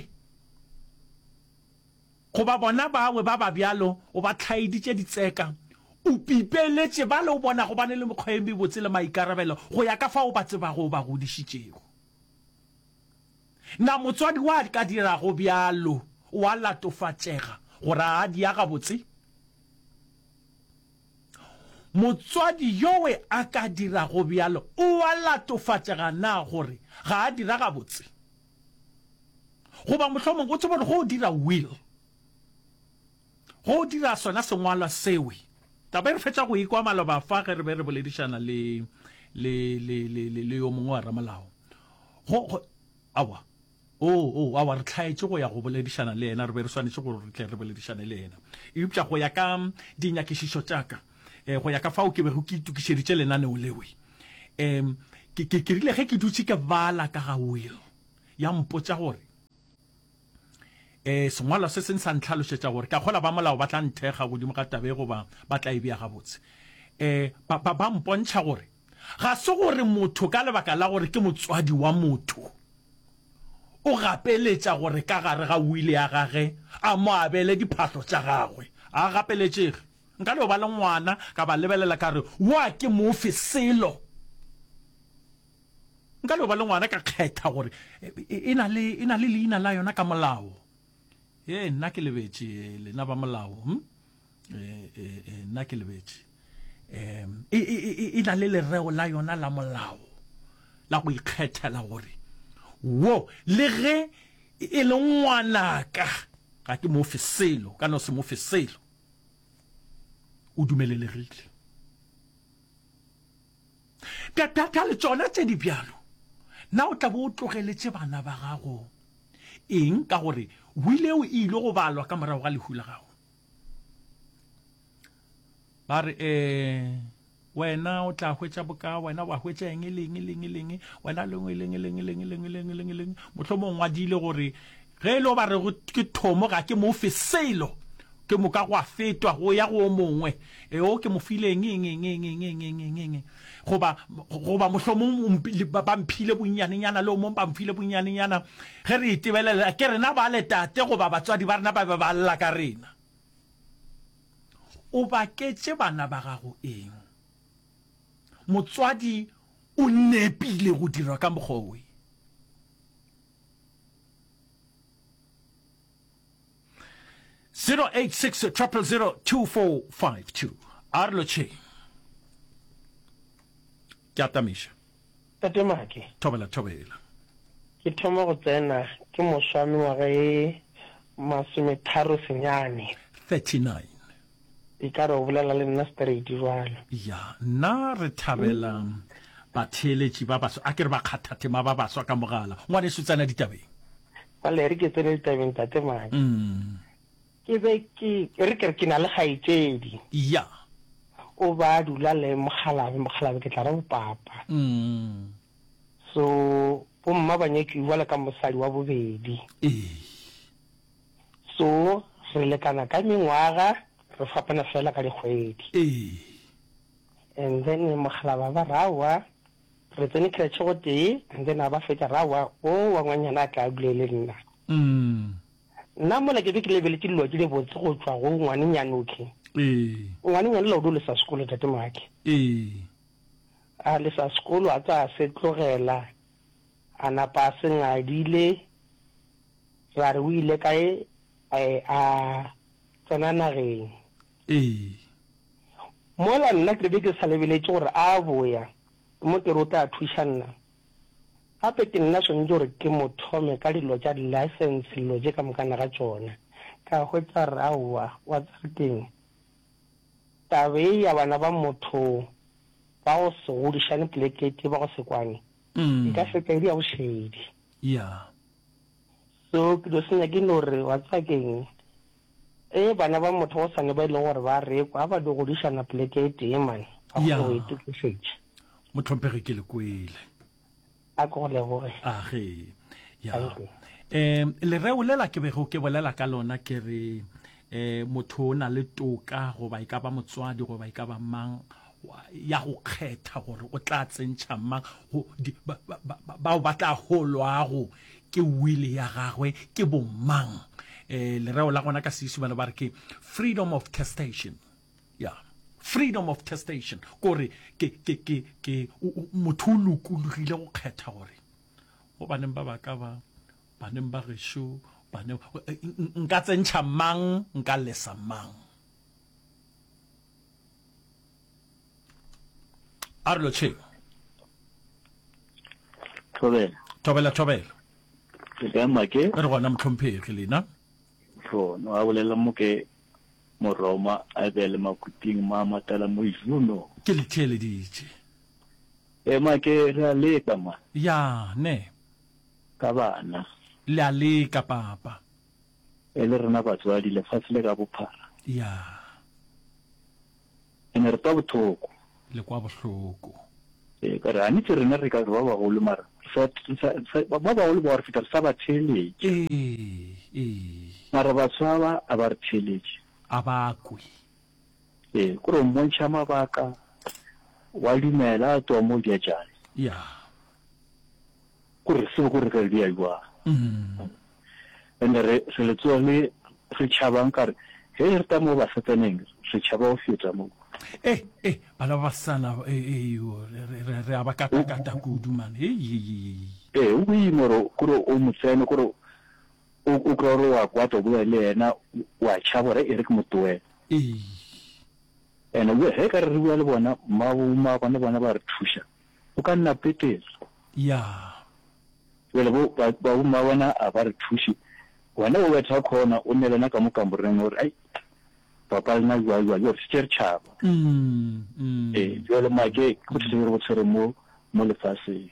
goba bona bawe ba ba bjalo o ba hlaeditše ditseka, o pipeletše bale o bonago ba ne le mekgwa e mebotse le maikarabelo go ya ka fao o ba tsebago o ba godišitšego. Na motswadi wa ka dirago bjalo o a latofatšega gore a a dia gabotse? Motswadi yowe a ka dirago bjalo o a latofatšega na gore ga a dira gabotse? Goba mohlomongwe o tsebe gore go o dira will, go o dira sona sengwalwa sewe, taba e re fetša go ikwa maloba fa ge re be re boledišana le, le, le, le, le, le yo mongwe wa ramolao. Go, go, aowa. Oo, oo, aowa, re hlaetše go ya go boledišana le yena, re be re swanetše gore re tle re boledišane le yena. Eupša go ya ka dinyakišišo tša ka, eh, go ya ka fao ke bego ke itokišeditše lenaneo lewe, um, ke, ke, ke rile ge ke dutše ke bala ka ga will, ya mpotša gore, eh, sengwalwa se seng sa ntlhalošetša gore, ka kgola ba molao ba tla nthekga godimo ga taba e goba ba tla e bea gabotse. Eh, ba, ba, ba mpontšha gore ga se gore motho ka lebaka la gore ke motswadi wa motho, o gapeletša gore ka gare ga wili ya gage a mo abele diphahlo tša gagwe. A gapeletšege. Nka no ba le ngwana, ka ba lebelela ka re, Wo a ke mo fe selo. Nka no ba le ngwana ka kgetha gore e na le, e na le leina la yona ka molao. Ee, nna ke lebetše, lena ba molao. Hm? E, e, e, nna ke lebetše. Um, e, e, e, e na le lereo la yona la molao la go ikgethela gore wo le ge e le ngwanaka ga ke mo fe selo, ka no se mo fe selo. O dumelelegile. Bjale tšona tše di bjalo, na o tla bo o tlogeletše bana ba gago eng? Ka gore wili eo e ile go balwa ka morago ga lehu la gago. Ba re, Ee, wena o tla hwetša boka, wena wa hwetša eng, le eng, le eng, le eng, wena lengwe, leng, leng, leng, leng, leng, leng, leng. Mohlomong o ngwadile gore ge e le ba re ke thomo ga ke mo fe selo, ke moka gwa fetwa go ya go o mongwe, e o ke mo file eng, eng, eng, eng, eng, eng, eng, eng, eng. Goba, goba mohlomong ba mphile bonnyanenyana le o mongwe ba mphile bonnyanenyana. Ge re itebelela, ke rena bale tate goba batswadi ba rena ba be ba lla ka rena. O baketše bana ba gago eng? Motswadi o nepile go dira ka mokgwa owe. 086 000 2452 A re lotšheng. Ke atamiša. Tate Make. Thobela, thobela. Ke thoma go tsena ke moswa mengwaga e masometharo senyane. 39. E ka re o bolela le nna straight jwalo. Ya, nna re thabela batheeletši ba baswa, a ke re bakgathatema ba baswa ka mogala. Ngwaneso tsena ditabeng. Bjale e re ke tsene ditabeng Tate Make. Ke be ke, e re ke re ke na le kgaetšedi. Ya. O ba a dula le mokgalabje, mokgalabje ke tla re bopapa. So, bomma ba nyetšwe bjalo ka mosadi wa bobedi. Ee. So, re lekana ka mengwaga, re fapana fela ka dikgwedi. Ee. And then mokgalabje a ba re aowa, re tsene creche gotee, and then a ba fetša re aowa, o wa ngwanyana a tla a dule le nna. Nna mola ke be ke lebeletše dilo tše dibotse go tšwa go ngwanenyane okhwi. Ee. Ngwanenyane la o do lesa sekolo tate Make. Ee. A lesa sekolo a tsa se tlogela a napa a se ngadile ra re o ile kae a tsena nageng. Ee. Mola nna ke be ke sa lebeletše gore a boya ke mo ke re o tla thuša nna. Gape ke nna swanetše gore ke mo thome ka dilo tša di-license dilo tše ka mokana ga tšona. Ka hwetša re aowa, wa tseba keng? Taba ye ya bana ba motho ba go se godišane poleke e tee, ba go se kwane, e ka fetša e le ya bošaedi. Yeah. So ke dio senya ke no re, wa tseba keng? Ee, bana ba motho go sane ba e leng gore ba rekwa, a ba dio godišana poleke e tee man, ba kgone go itokišetša. Mohlomphegi ke le kwele. A ke go leboge. A ge. Ya. Um lereo lela ke bego ke bolela ka lona ke re um motho o na le toka goba e ka ba motswadi goba e ka ba mang ya go kgetha gore o tla tsentšha mang bao ba tla holwago ke wili ya gagwe ke bomang. Um lereo la gona ka Seisimane ba re ke freedom of testation. Ya, freedom of testation, kore ke, ke, ke, ke, motho o lokologile go kgetha gore go baneng ba baka ba, baneng ba gešo, baneng, nka tsentšha mang, nka lesa mang. A re lotšheng. Thobela. Thobela, thobela. Ke kae Make? Re gona mohlomphegi lena. Tlhono a bolela mo ke Moroma a be le makuting ma matala mo Juno. Ke le theeleditše. Ema ke re a leka ma. Ya, ne. Ka bana. Le a leka, papa. E le rena batswadi lefase le ka bophara. Ya. Ene re kwa bothoko. Le kwa bohloko. Ee, ka re anitse rena re ka re ba bagolo mara re sa, re sa, re sa, ba bagolo ba re feta re sa ba theeletša. Ee, ee. Mara baswa ba a ba re theeletše. A ba kwe. Ee, kore o mmontšha mabaka, wa dumela a tloga mo bjajane. Ya. Kore re tsebe kore re ka le beya jwang. Ene re, re le tsoga le re tšhabang ka re, ge re ta mo basetsaneng, re tšhaba go feta mo. Eh, eh, bana ba basetsana, eh, eh, yo, re, re, re, re a ba katakata kudu, man. Hei, hei, hei, hei. Ee, o boima gore, kore o mo tsene, kore o, o kry-a gore wa kwata o bolela le yena, wa tšhaba gore e re ke mo tlohele. Ee. Ene ge e ka re re bua le bona, mmabo, mmagone bona ba re thuša, o ka nna petela. Ya. Bjale bo, ba, ba bomma bona a ba re thuše. Wena o betha khona, o nne le yena ka mo kamoreng, o re, Ai, papa lena jwang, jwang, jwale re šetše re tšhaba. Ee, bjale make, ke bothata bjo re bo tshwereng mo, mo lefaseng.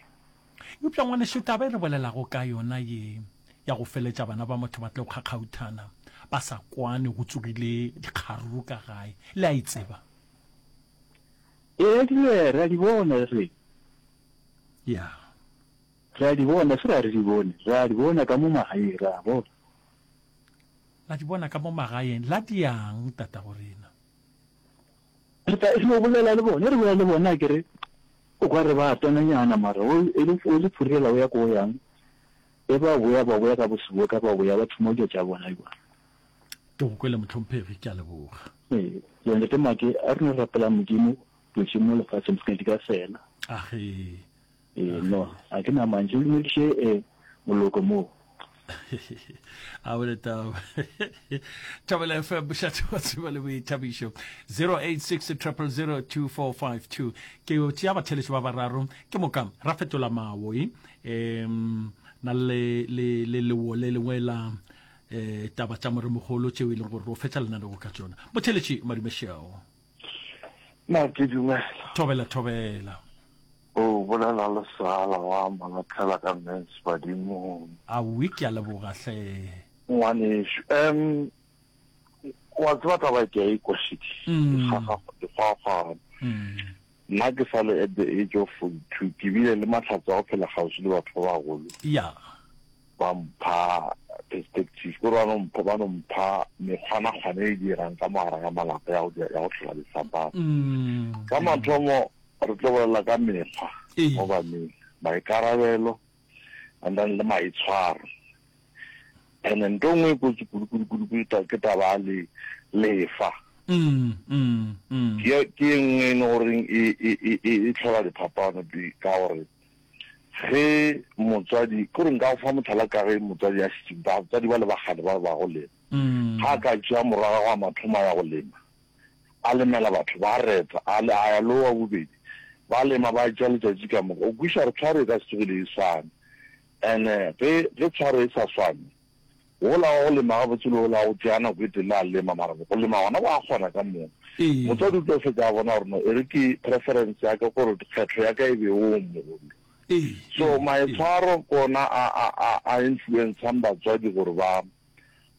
Eupša, ngwanešu, taba e re bolelago ka yona ye, ya go feletša bana ba motho ba tle go kgakgauthana, ba sa kwane, go tsogile dikgaruru ka gae, le a e tseba? Ee, re, re a di bona, re. Ya. Re a di bona, se ra re di bone. Re a di bona ka mo magaeng, re a bona. La di bona ka mo magaeng, la di yang, tatago rena? Re tla, re no bolela le bona, re bolela le bona, a ke re, o ka re ba tonanyana, mara o, e le, o le phurela o ya ko o yang, e ba boya, ba boya ka boseboka, ba boya ba thoma dilo tša bona jwang. Ke go kwele, mohlomphegi, ke a leboga. Ee, le ntate Make, a re no rapela Modimo, dilo tše mo lefaseng se ke di ka fela. Age. Ee, no, a ke na mantšu, o dumediše eh, moloko moo. A bone taba. Thobela FM, mošate wa tsebo le boithabišo. 086 000 2452. Ke yo tšea batheletši ba bararo, ke moka ra fetola mawo e. Em, na le le le lewo le lengwe la eh taba tša moremogolo tšeo e leng gore o fetša lenanego ka tšona. Motheletši Madumešeo. Na ke dumela. Thobela thobela. O bolela le Sala wa Malatlhela ka Mens badimong. Aowi ke a leboga hle. Ngwanešu, um wa tseba taba e ke a ikwa šedi. E kgwakgwana. Nna ke sa le at the age of 42 ke bile le mahlatse a go phela kgauswi le batho ba bagolo. Ya. Ba mpha perspective, kore ba no mpha, ba no mpha mekgwanakgwana e dirang ka mogare ga malapa ya go ya go hlola difapano. Ka mathomo Re tlo bolela ka mekgwa mo baneng, maikarabelo and then le maitshwaro. And ntho e nngwe e kotsi kudu kudu kudu kudu ke taba ya le lefa. Ke ke e nngwe e le goreng e e e e tlhola diphapano ka gore ge motswadi ke gore nka go fa motlhala ka ge motswadi a šetše batswadi ba le ba kgale ba ba go lema. Ga a ka tšea morwa wa gagwe a mathomo a ya go lema a lemela batho, ba reta, a, a ya le wa bobedi, ba lema, ba tšea letšatši ka moka. O kwešiša gore tshwaro e ka se tsogile e swane. And-e ge, ge tshwaro e sa swane, wola wa go lema gabotse le wola wa go tšea nako e telele a lema, mara go lema gona ba kgona ka moka. Motswadi o tlo fetša a bona gore no, e re ke preference ya ka, gore kgetho ya ka e be wo mogolo. So maitshwaro ke ona a, a, a, a influencang batswadi gore ba,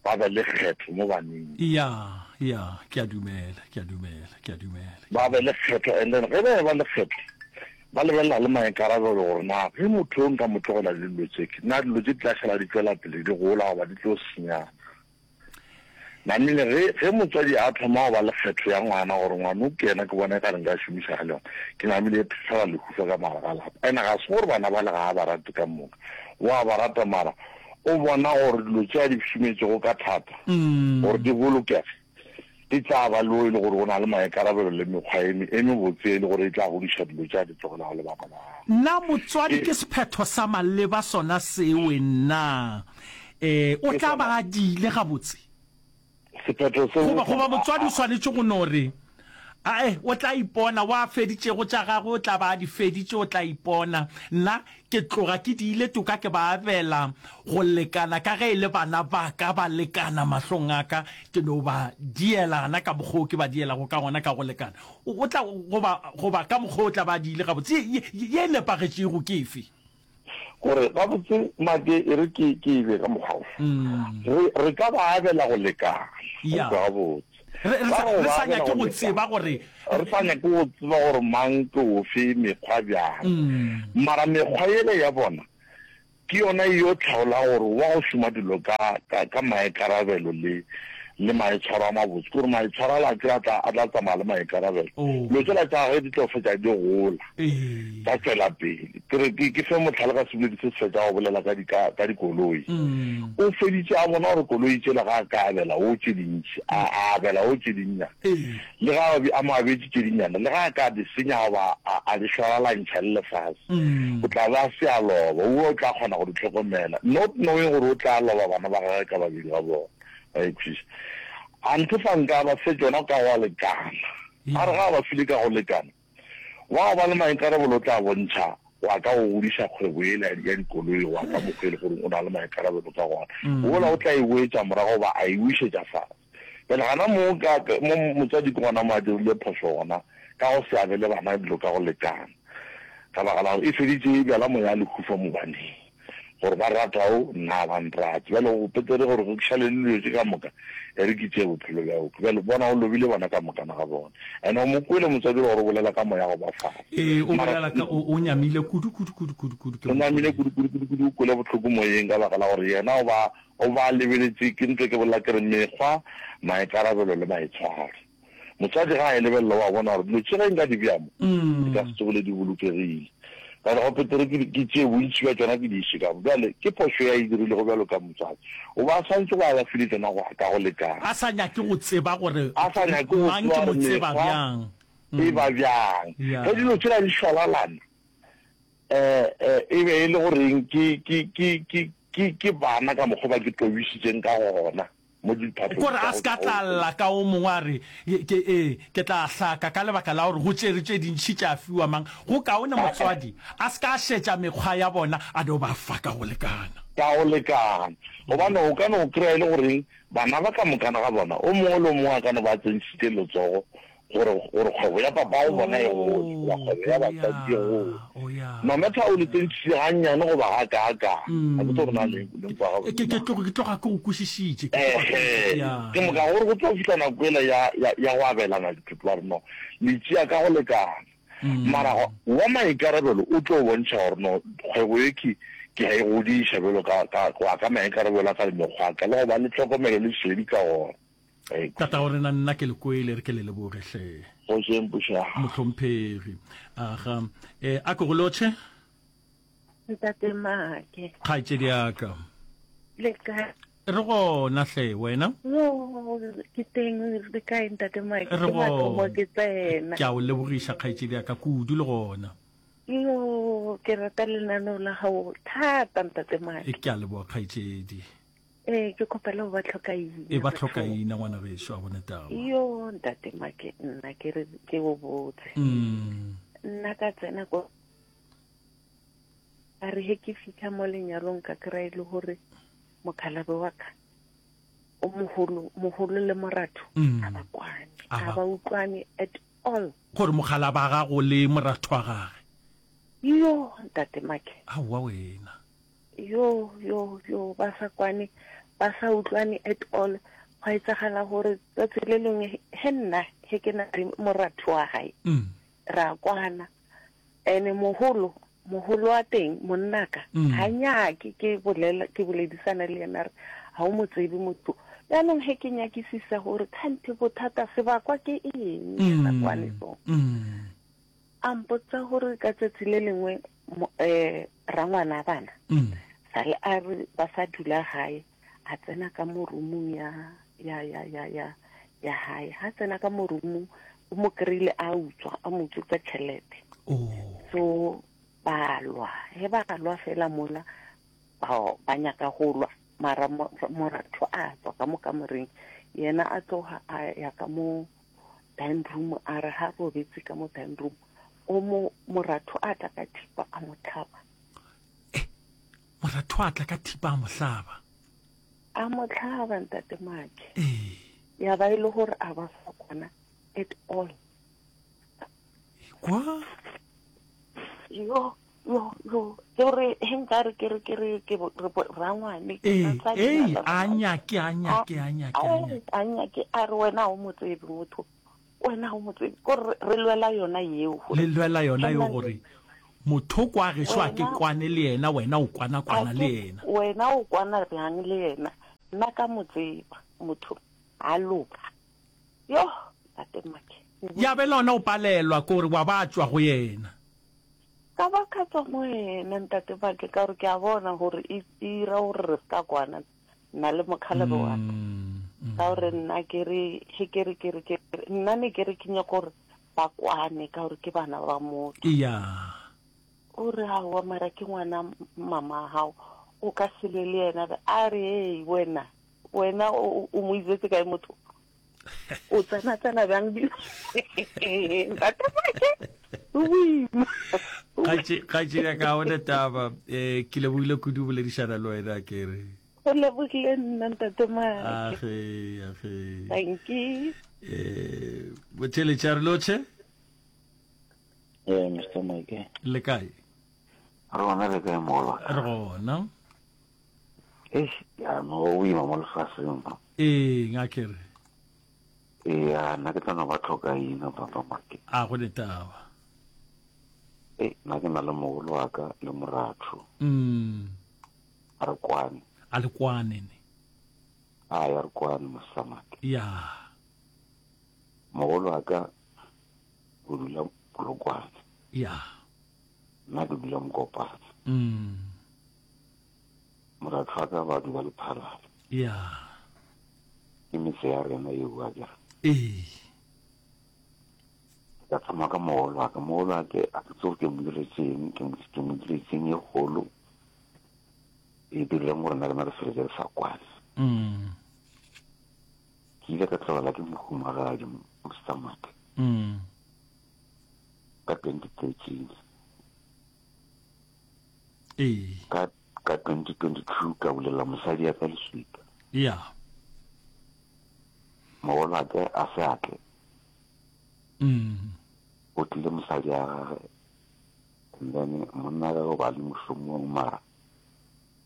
ba be le kgetho mo baneng. Ya, ya, ke a dumela, ke a dumela, ke a dumela. Ba be le kgetho, and then ge ba eba le kgetho, ba lebelela le maikarabelo gore na ge motho yo nka mo tlogela le dilo tše, na dilo tše di tla šala di tšwela pele di gola goba di tlo senyana. Namile ge, ge motswadi a thoma go ba le kgetho ya ngwana gore ngwana o ke yena ke bona e ka re nka šomišana le yona, ke namile e phehlela lehufa ka mogare ga lapa. And ga se gore bana bale ga a ba rate ka moka, o a ba rata mara o bona gore dilo tše a di šometšego ka thata gore di bolokege di tla ba le o e le gore o na le maikarabelo le mekgwa e, e mebotse e le gore e tla godiša dilo tše a di tlogelago le bana ba gagwe. Na motswadi ke sephetho sa maleba sona sewe na? E, o tla ba a diile gabotse? Sephetho seo Goba, goba motswadi o swanetše go no re, Ae, o tla ipona, wa feditšego tša gagwe o tla ba a di feditše, o tla ipona. Nna ke tloga ke diile toka ke ba abela go lekana, ka ge e le bana ba ka, ba lekana mahlong a ka, ke no ba diela gana ka mokgwa o ke ba dielago ka gona ka go lekana. O, o tla, goba, goba ka mokgwa o tla ba a diile gabotse. Ye, ye, ye e nepagetšego ke efe? Kore gabotse Make e re ke ke e be ka mokgwa wo. Re re ka ba abela go lekana. Ya. Go kwa gabotse. Re re Ka sa go re ba sa abela nyake go go tseba lekana. gore Re sa nyake go tseba gore mang ke ofe mekgwa bjang. Mara mekgwa yele ya bona Ke yona e yo hlaolago gore wa go šoma dilo ka, ka, ka maikarabelo le, le maitshwaro a mabotse. Ke gore maitshwaro ala a kere a tla, a tla tsamaya le maikarabelo. Dilo tšela tša gagwe di tlo fetša di gola, tša tšwela pele. Ke re, ke, ke fe mohlala ka seboledi se se fetša go bolela ka di, ka, ka dikoloi. O feditše a bona gore koloi tšela ga a ka abela o tše dintši, a, a abela o tše dinnyane. Le ge a be a mo abetše tše dinnyane, le ge a ka di senya goba a, a di šwaralantšha le lefase, o tla be a se a loba. O, o tla kgona go di hlokomela, not knowing gore o tla loba bana ba gagwe ka babedi ga bona. Wa e kwešiša? Anthe fa nka ba fe tšona ka go lekana. A re ga a ba file ka go lekana, Wa go ba le maikarabelo o tla bontšha go ya ka go godiša kgwebo yela ya dikoloi go ya ka mokgwa e le gore o na le maikarabelo ka gona. Wola o tla e boetša morago goba a e wišetša fase. Bjale gana mo ka mo motswadi ke gona mo a dirile phošo gona ka go se abele bana dilo ka go lekana. Ka baka la gore e feditše e bjala moya lehufa mo baneng. Gore ba rata o, nna ga ba nrate. Bjale go petere gore go šale le dilo tše ka moka, e re ke tšee bophelo bja oke. Bjale bona o lobile bona ka mokana ga bona. And o mo kwele motswadi gore o bolela ka moya go ba fase. Ee, o Mara bolela ka, o, o nyamile kudu, kudu, kudu, kudu, kudu, ke o mo nyamile kwele. kudu, kudu, kudu, kudu, o kwele bohloko moyeng ka baka la gore yena o ba, o ba lebeletše, ke ntse ke bolela ke re mekgwa, maikarabelo le maitshwaro. Motswadi ga a e lebelela o a bona gore dilo tše ge nka di bea mo, di ka se tsogile di bolokegile. Bjale go petere ke, ke tšee bontši bja tšona ke di iše ka mo. Bjale ke phošo ye a e dirilego bjalo ka motswadi. O ba a swanetše go a ba file tšona go ya ka go lekana. A sa nyake go tseba gore A sa nyake go mang tseba ke mo gore tseba mekgwa bjang. e ba bjang. Ge dilo tšela di šwalalana, um e be e le goreng ke, ke, ke, ke, ke, ke bana ka mokgwa ba ke tobišitšeng ka gona. mo diphatlong Kore tša a go se ka tšwa tla go. lla ka o mongwe a re, Ke, ee, ke tla hlaka ka lebaka la gore go tšere tše dintši tša fiwa mang. Go kaone motswadi a se ka a šetša mekgwa ya bona, a no ba fa ka go lekana. Ka go lekana. Gobane o ka no kry-a e le goreng bana ba ka mokana ga bona, o mongwe le o mongwe a ka no ba a tsentšhitše letsogo gore, gore kgwebo ya papago bona e gole, goba kgwebo ya batswadi e gole. No matter o le tsentšhitše gannyane goba gakaakaa, ga ke tsebe gore na le, le nkwa gabotse Ke, ke na. tloga, ke tloga ke go kwešišitše. Ke tloga ke go, Ehe, ya, ke moka ya. gore go tlo fihla nako yela ya, ya, ya go abelana dithoto, ba re no, le tšea ka go lekana. Mara wa maikarabelo o tlo bontšha gore no, kgwebo ye ke, ke a e godiša bjalo ka, ka, go ya ka maikarabelo a ka le mekgwa ya ka, le go ba le tlhokomelo le šedi ka gona. Tatago rena, nna ke le kwele, re ke le leboge hle. Go jeng pušo. Mohlomphegi. Aga. E, a ke go lotšhe. Ntate Make. Kgaetšedi ya ka. Le kae? Re gona hle, wena? Yo, ke teng, le kae ntate Make? Re Ke mathomo gona. ke tsena. Ke a o lebogiša kgaetšedi ya ka kudu le gona. Yo, ke rata lenaneo la gago thata ntate Make. E, ke a leboga kgaetšedi. Ee, ke kgopela go ba tlhokaina. E ba tlhokaina ngwana gešo a bone taba. Yo ntate Make nna ke re ke go botse. Mm. Nna ka tsena ko a re he ke fitlha mo lenyalong ka kry e le gore mokhalabe wa ka o mogolo mogolo le moratho mm. a ba kwane a ba utlwane at all gore mokgalaba gago le moratho wa gage yo ntate make aowa wena Yo, yo, yo, ba sa kwane, ba sa utlwane at all. Gwa etsagala gore tsatsi le lengwe he nna he ke na le moratho wa gae, ra kwana. Ene mogolo, mogolo wa teng, monnaka, ga nyake ke bolela, ke boledisana le yena, a re, ga o mo tsebe motho. Jaanong he ke nyakisisa gore kganthe bothata sebakwa ke eng, re sa kwane so. A mpotsa gore ka tsatsi le lengwe rangwana bana sale a re ba sa dula gae, a tsena ka mo roomong ya ya ya ya ya ya hae. Ha tsena ka mo roomong o mo kry-ile a utswa, a mo utswetsa tšhelete. So ba lwa, he ba lwa fela mola ba ba nyaka go lwa, mara moratho a tswa ka mo kamoreng, yena a tloga a ya ka mo dining room, a re ha robetse ka mo dining room, o mo moratho a tla ka thipa a mo hlaba. Eh, moratho a tla ka thipa a mo hlaba. A mo hlaba ntate Make. Eh. Ya ba e le gore a ba sa kwana at all. Kwa? Yo. Yo, yo, ke gore he nka re ke re ke re ke re rangwane. Ee, ee, a nyake, a nyake, a nyake, a nyake. A nyake, a re wena o mo tsebe motho. Wena o mo tsebe. Ko re re lwela yona yeo. Le lwela yona yeo gore motho kwa gešo a ke kwane le yena, wena o kwana kwana le yena. Wena o kwana bjang le yena? Nna ka mo tseba motho a loka. Yo, tate Make. Ya be lona o palelwa ke gore wa ba tšwa go yena. Ka ba ka tswa mo yena ntate Make ka gore ke a bona gore e ira gore re se ka kwana nna le mokgalebe wa ka. Ka gore nna ke re he ke re ke re ke re nna ne ke re ke nyaka gore ba kwane ka gore ke bana ba motho. Iya. O re aowa mara ke ngwana mama gago o ka se lwe le yena a re hei wena wena o mo izetse kae motho o tsena tsena bjang ntate Make o boima kgaetšedi ya ka one taba um ke lebogile kudu boledišana le wena ke re go lebogile nna ntate Make age age thank you um botheletša re lotšhe ee mr Make le kae re gona le kae mogolo re gona Eish, ya no go boima mo lefaseng mo. Ee, ngakere. Ee, ya nna ke tla no ba tlhokaina papa Make. A go ne taba. Ee, nna ke na le mogolo wa ka le moratho. Mm. A re kwane. A le kwane ne. A ya re kwane Mr Make. Ya. Mogolo wa ka o dula Polokwane. Ya. Nna ke dula Mokopane. Mm. Moratho wa ka ba dula Lephalale. Ya. Ke metse ya rena yeo a kere. Ee. Ka thoma ka mogolo wa ka. Mogolo wa ke a ke tsebe ke mo diretseng, ke mo ke mo diretseng e kgolo. E dirileng gore nna le nna re feletse re sa kwane. Mm. Ke ile ka tlogela ke mohumagadi Mr. Make. Mm. Ka 2013. Ee. Ka Ka 2022 ka bulela mosadi ya ka leswika. Ya. Mogolwake a se a tle. Mm. O tlile mosadi ya gage and then monna gage o ba le mošomong mara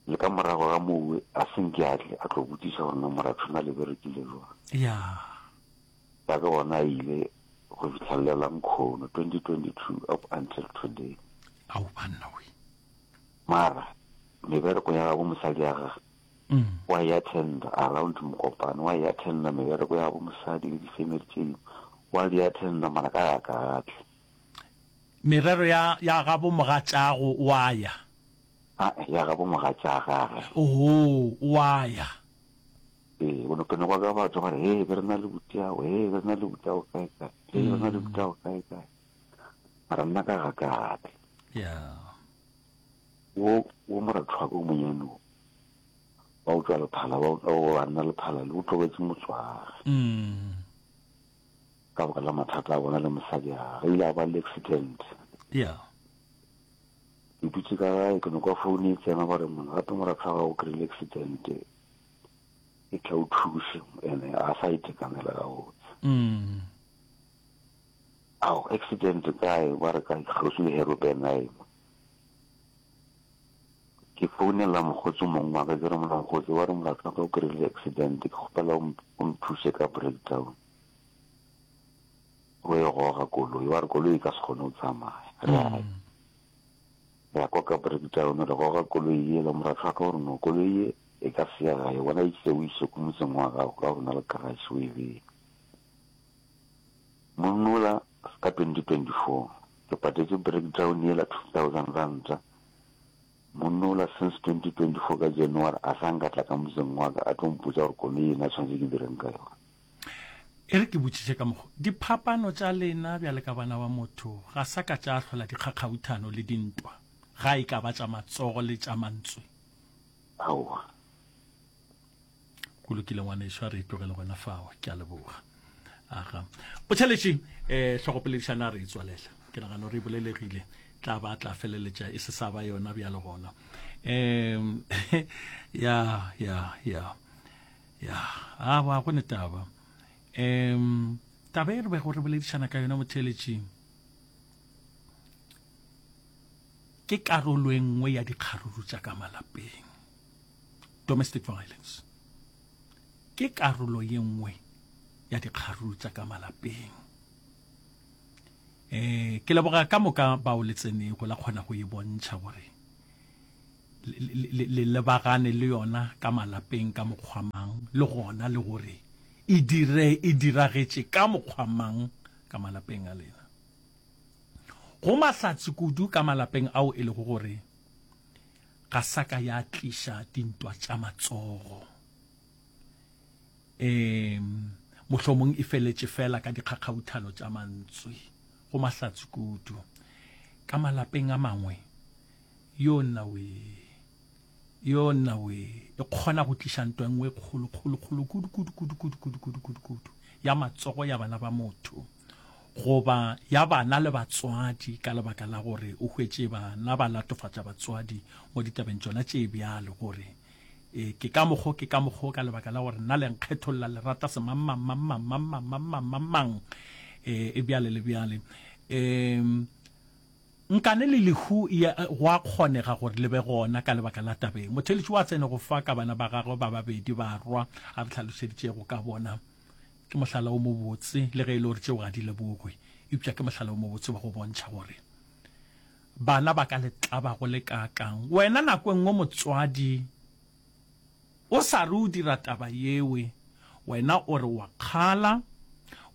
le ka morago ga mowe a se nke a tle a tlo botšiša gore na moratho na le berekile jwang. Ya. Ya ke gona a ile go fitlhelela nkhono 2022 up until today. Ao banna we. Mara mebereko ya gabo mosadi ya gage wa e attenda around Mokopane, wa e attenda mebereko ya gabo mosadi le di-family tše dingwe wa di attenda mara ka ya ka a tle. Merero ya ya gabo mogatšago wa ya? Ae, ya gabo mogatša gage. Ohoo, wa ya. Ee, o no ke no kwa ka batho ba re, hee be re na le butiago, hee be re na le butiago kae kae, hee be re na le butiago kae kae. Mara nna ka ga ka a tle. Ya. Wo, wo moratho wa ka o monyane wo, wa go tšwa Lephala, wa, wa banna Lephala le, o tlogetše motse wa gage. Mm. Ka baka la mathata a bona le mosadi ya gage. Ile a ba le accident. Ya. Ke dutše ka gae, ke no kwa phone e tsena ba re mona, gape moratho wa gago o kry-ile accident, e tla o thuše, ene a sa itekanela gabotse. Mm. Ao, accident kae? Ba re kae? Kgauswi le Herobenheim. Ke founela mokgotsi mong wa ka, ke re mona mokgotsi, wa re molato wa ka o kry-ile accident, ke kgopela o nthuse ka breakdown. O e goga koloi, wa re koloi e ka se kgone go tsamaya. Re a mm. re ya kwa ka breakdown, re goga koloi yela, moratho wa ka o re no, koloi ye e ka se ya gae, wena e tšee o ise ko motseng wa gago ka gore na le garage o e bee. Monnola ka 2024 ke patetše breakdown yela 2000 ranta. Monnola since 2024 ka January a sa nka tla ka motseng wa ka a tlo mpotša gore koloi yena tshwanetse ke direng ka yona. E re ke botšiše ka mokgo, diphapano tša lena bjale ka bana ba motho ga sa ka tša hlola dikgakgauthano le dintwa, ga e ka ba tša matsogo le tša mantswe? Aowa. Go lokile ngwanešu, a re e tlogele gona fao. Ke a leboga. Aga. Botšheletši, eh, hlogopoledišano a re e tswalela. Ke nagana gore e bolelegile. Tla ba tla feleletša e se sa ba yona bjale gona. Um, ya, ya, ya. Ya, a ba go ne taba. Um, taba e re bego re boledišana ka yona motheeletšing. Ke karolo e nngwe ya dikgaruru tša ka malapeng. Domestic violence ke karolo ye nngwe ya dikgaruru tša ka malapeng. Eh, ke leboga ka moka bao le tsenego la kgona go e bontšha gore le lebagane le yona ka malapeng ka mokgwa mang le gona le gore e dire e diragetše ka mokgwa mang ka malapeng a lena. Go mahlatse kudu ka malapeng ao e lego gore ga sa ka ya tliša dintwa tša matsogo. Um mohlomong e feletše fela ka dikgakgauthano tša mantswe. Go mahlatse kudu. Ka malapeng a mangwe, yo nna wee, yo nna wee, e kgona go tliša ntwa e nngwe e kgolo, kgolo, kgolo kudu, kudu, kudu, kudu, kudu, kudu, kudu, kudu, ya matsogo ya bana ba motho. goba ya bana le batswadi ka lebaka la gore o hwetše bana ba latofatša batswadi mo ditabeng tšona tše bjalo gore e, ke ka mokgo ke ka mokgo ka lebaka la gore nna le nkgetholla le rata semangmangmangmangmangmangmangmang e, e bjale le bjale um nkane le lehu go a kgonega gore le be gona ka lebaka la tabeng motheletši wa tsene go fa ka bana ba gagwe ba babedi barwa a re hlalošeditšego ka bona Ke mohlala o mobotse, le ge e le gore tšeo ga di lebogwe, eupša ke mohlala o mobotse wa go bontšha gore bana ba ka le tlaba go le kaakang. Wena nako e nngwe motswadi o sa re o dira taba yewe, wena o re wa kgala,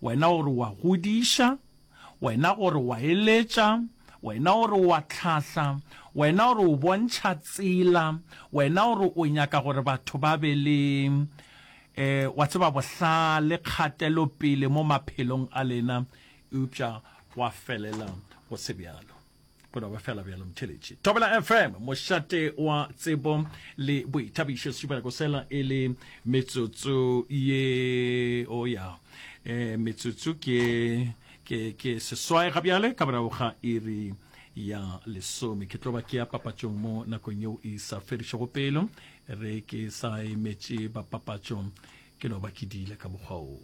wena o re wa godiša, wena o re wa eletša, wena o re wa tlhahla, wena o re o bontšha tsela, wena o re o nyaka gore batho ba be le E, wa tseba, bohlale, kgatelopele mo maphelong a lena, eupša gwa felela go se bjalo. Go no ba fela bjalo, motheeletši. Thobela FM, mošate wa tsebo le boithabišo, sešupanako sela e le metsotso ye, o ya, e, metsotso ke, ke, ke seswai ga bjale, ka morago ga iri ya lesome. Ke tlo ba ke ya papatšong mo nakong yeo e sa fedišego pelo. Re ke sa emetše ba papatšo, ke no ba ke diile ka mokgwa wo.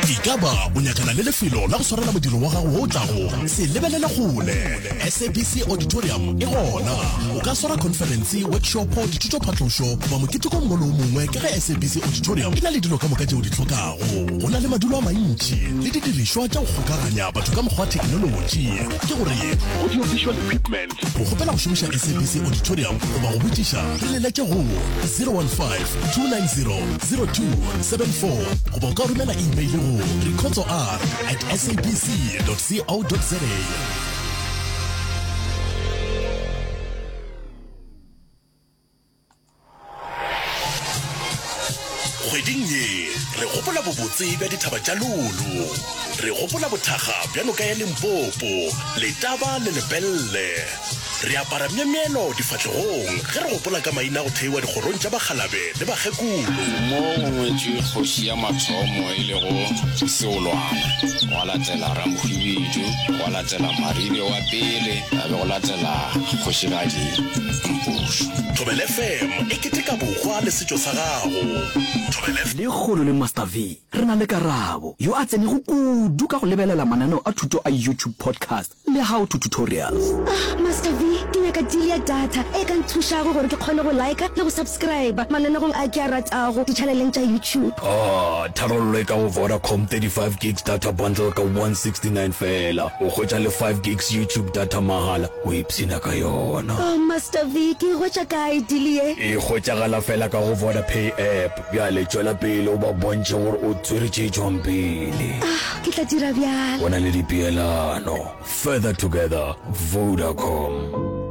Ekaba o nyakana le lefelo la go swarela modiro wa gago wo o tlago? Se lebelele kgole. SABC Auditorium e gona. O ka swara khonferense, workshopo, dithutophatlošo goba moketeko o mongwe le o mongwe ka ge SABC Auditorium e na le dilo ka moka tše o di hlokago. Go na le madulo a mantši le didirišwa tša go kgokaganya batho ka mokgwa wa theknolotši, ke gore audio-visual equipment. Go kgopela go šomiša SABC Auditorium goba go botšiša, re leletše go 015 290 0274 goba o ka romela email go rikhotsoR at sabc.co.za. Kgweding ye re gopola bobotse bja dithaba tša Lulu. Re gopola bothakga bja noka ya Limpopo, Letaba le Lepelle. Re apara myemyelo difahlegong ge re gopola ka maina a go theiwa dikgorong tša bakgalabe le bakgekolo. Mo go ngwetšwe kgoši ya mathomo e lego Seolwana, gwa latela Ramohwibidu, gwa latela Maribe wa pele, a be go latela Kgošigadi Mpušo. Thobela FM e keteka bohwa le setšo sa gago. Thobela. Lekgono le Master V re na le Karabo, yo a tsenego kudu ka go lebelela mananeo a thuto a YouTube podcast le how to tutorials. Ah, Master V, ke nyaka deal ya data e ka nthušago gore ke kgone go liker le go subscriber mananegong a ke a ratago ditšhaneleng tša YouTube. Ah, tharollo e ka go Vodacom 35 gigs data bundle ka 169 feela. O hwetša le 5 gigs YouTube data mahala, o ipshina ka yona. Oh, Master V, ke e hwetša kae deal ye? E hwetšagala feela ka go Vodapay app. Bjale tšwela pele o ba bontšhe gore o tswere tše tšwang pele. Ah, ke tla dira bjalo. Go na le dipeelano. Further together, Vodacom.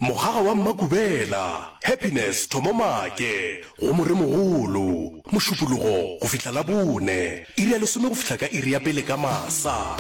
Mogaga wa Mmakubela, Happiness Thomo Maake, go Moremogolo, Mošupologo go fihla Labone, iri ya lesome go fihla ka iri ya pele ka masa.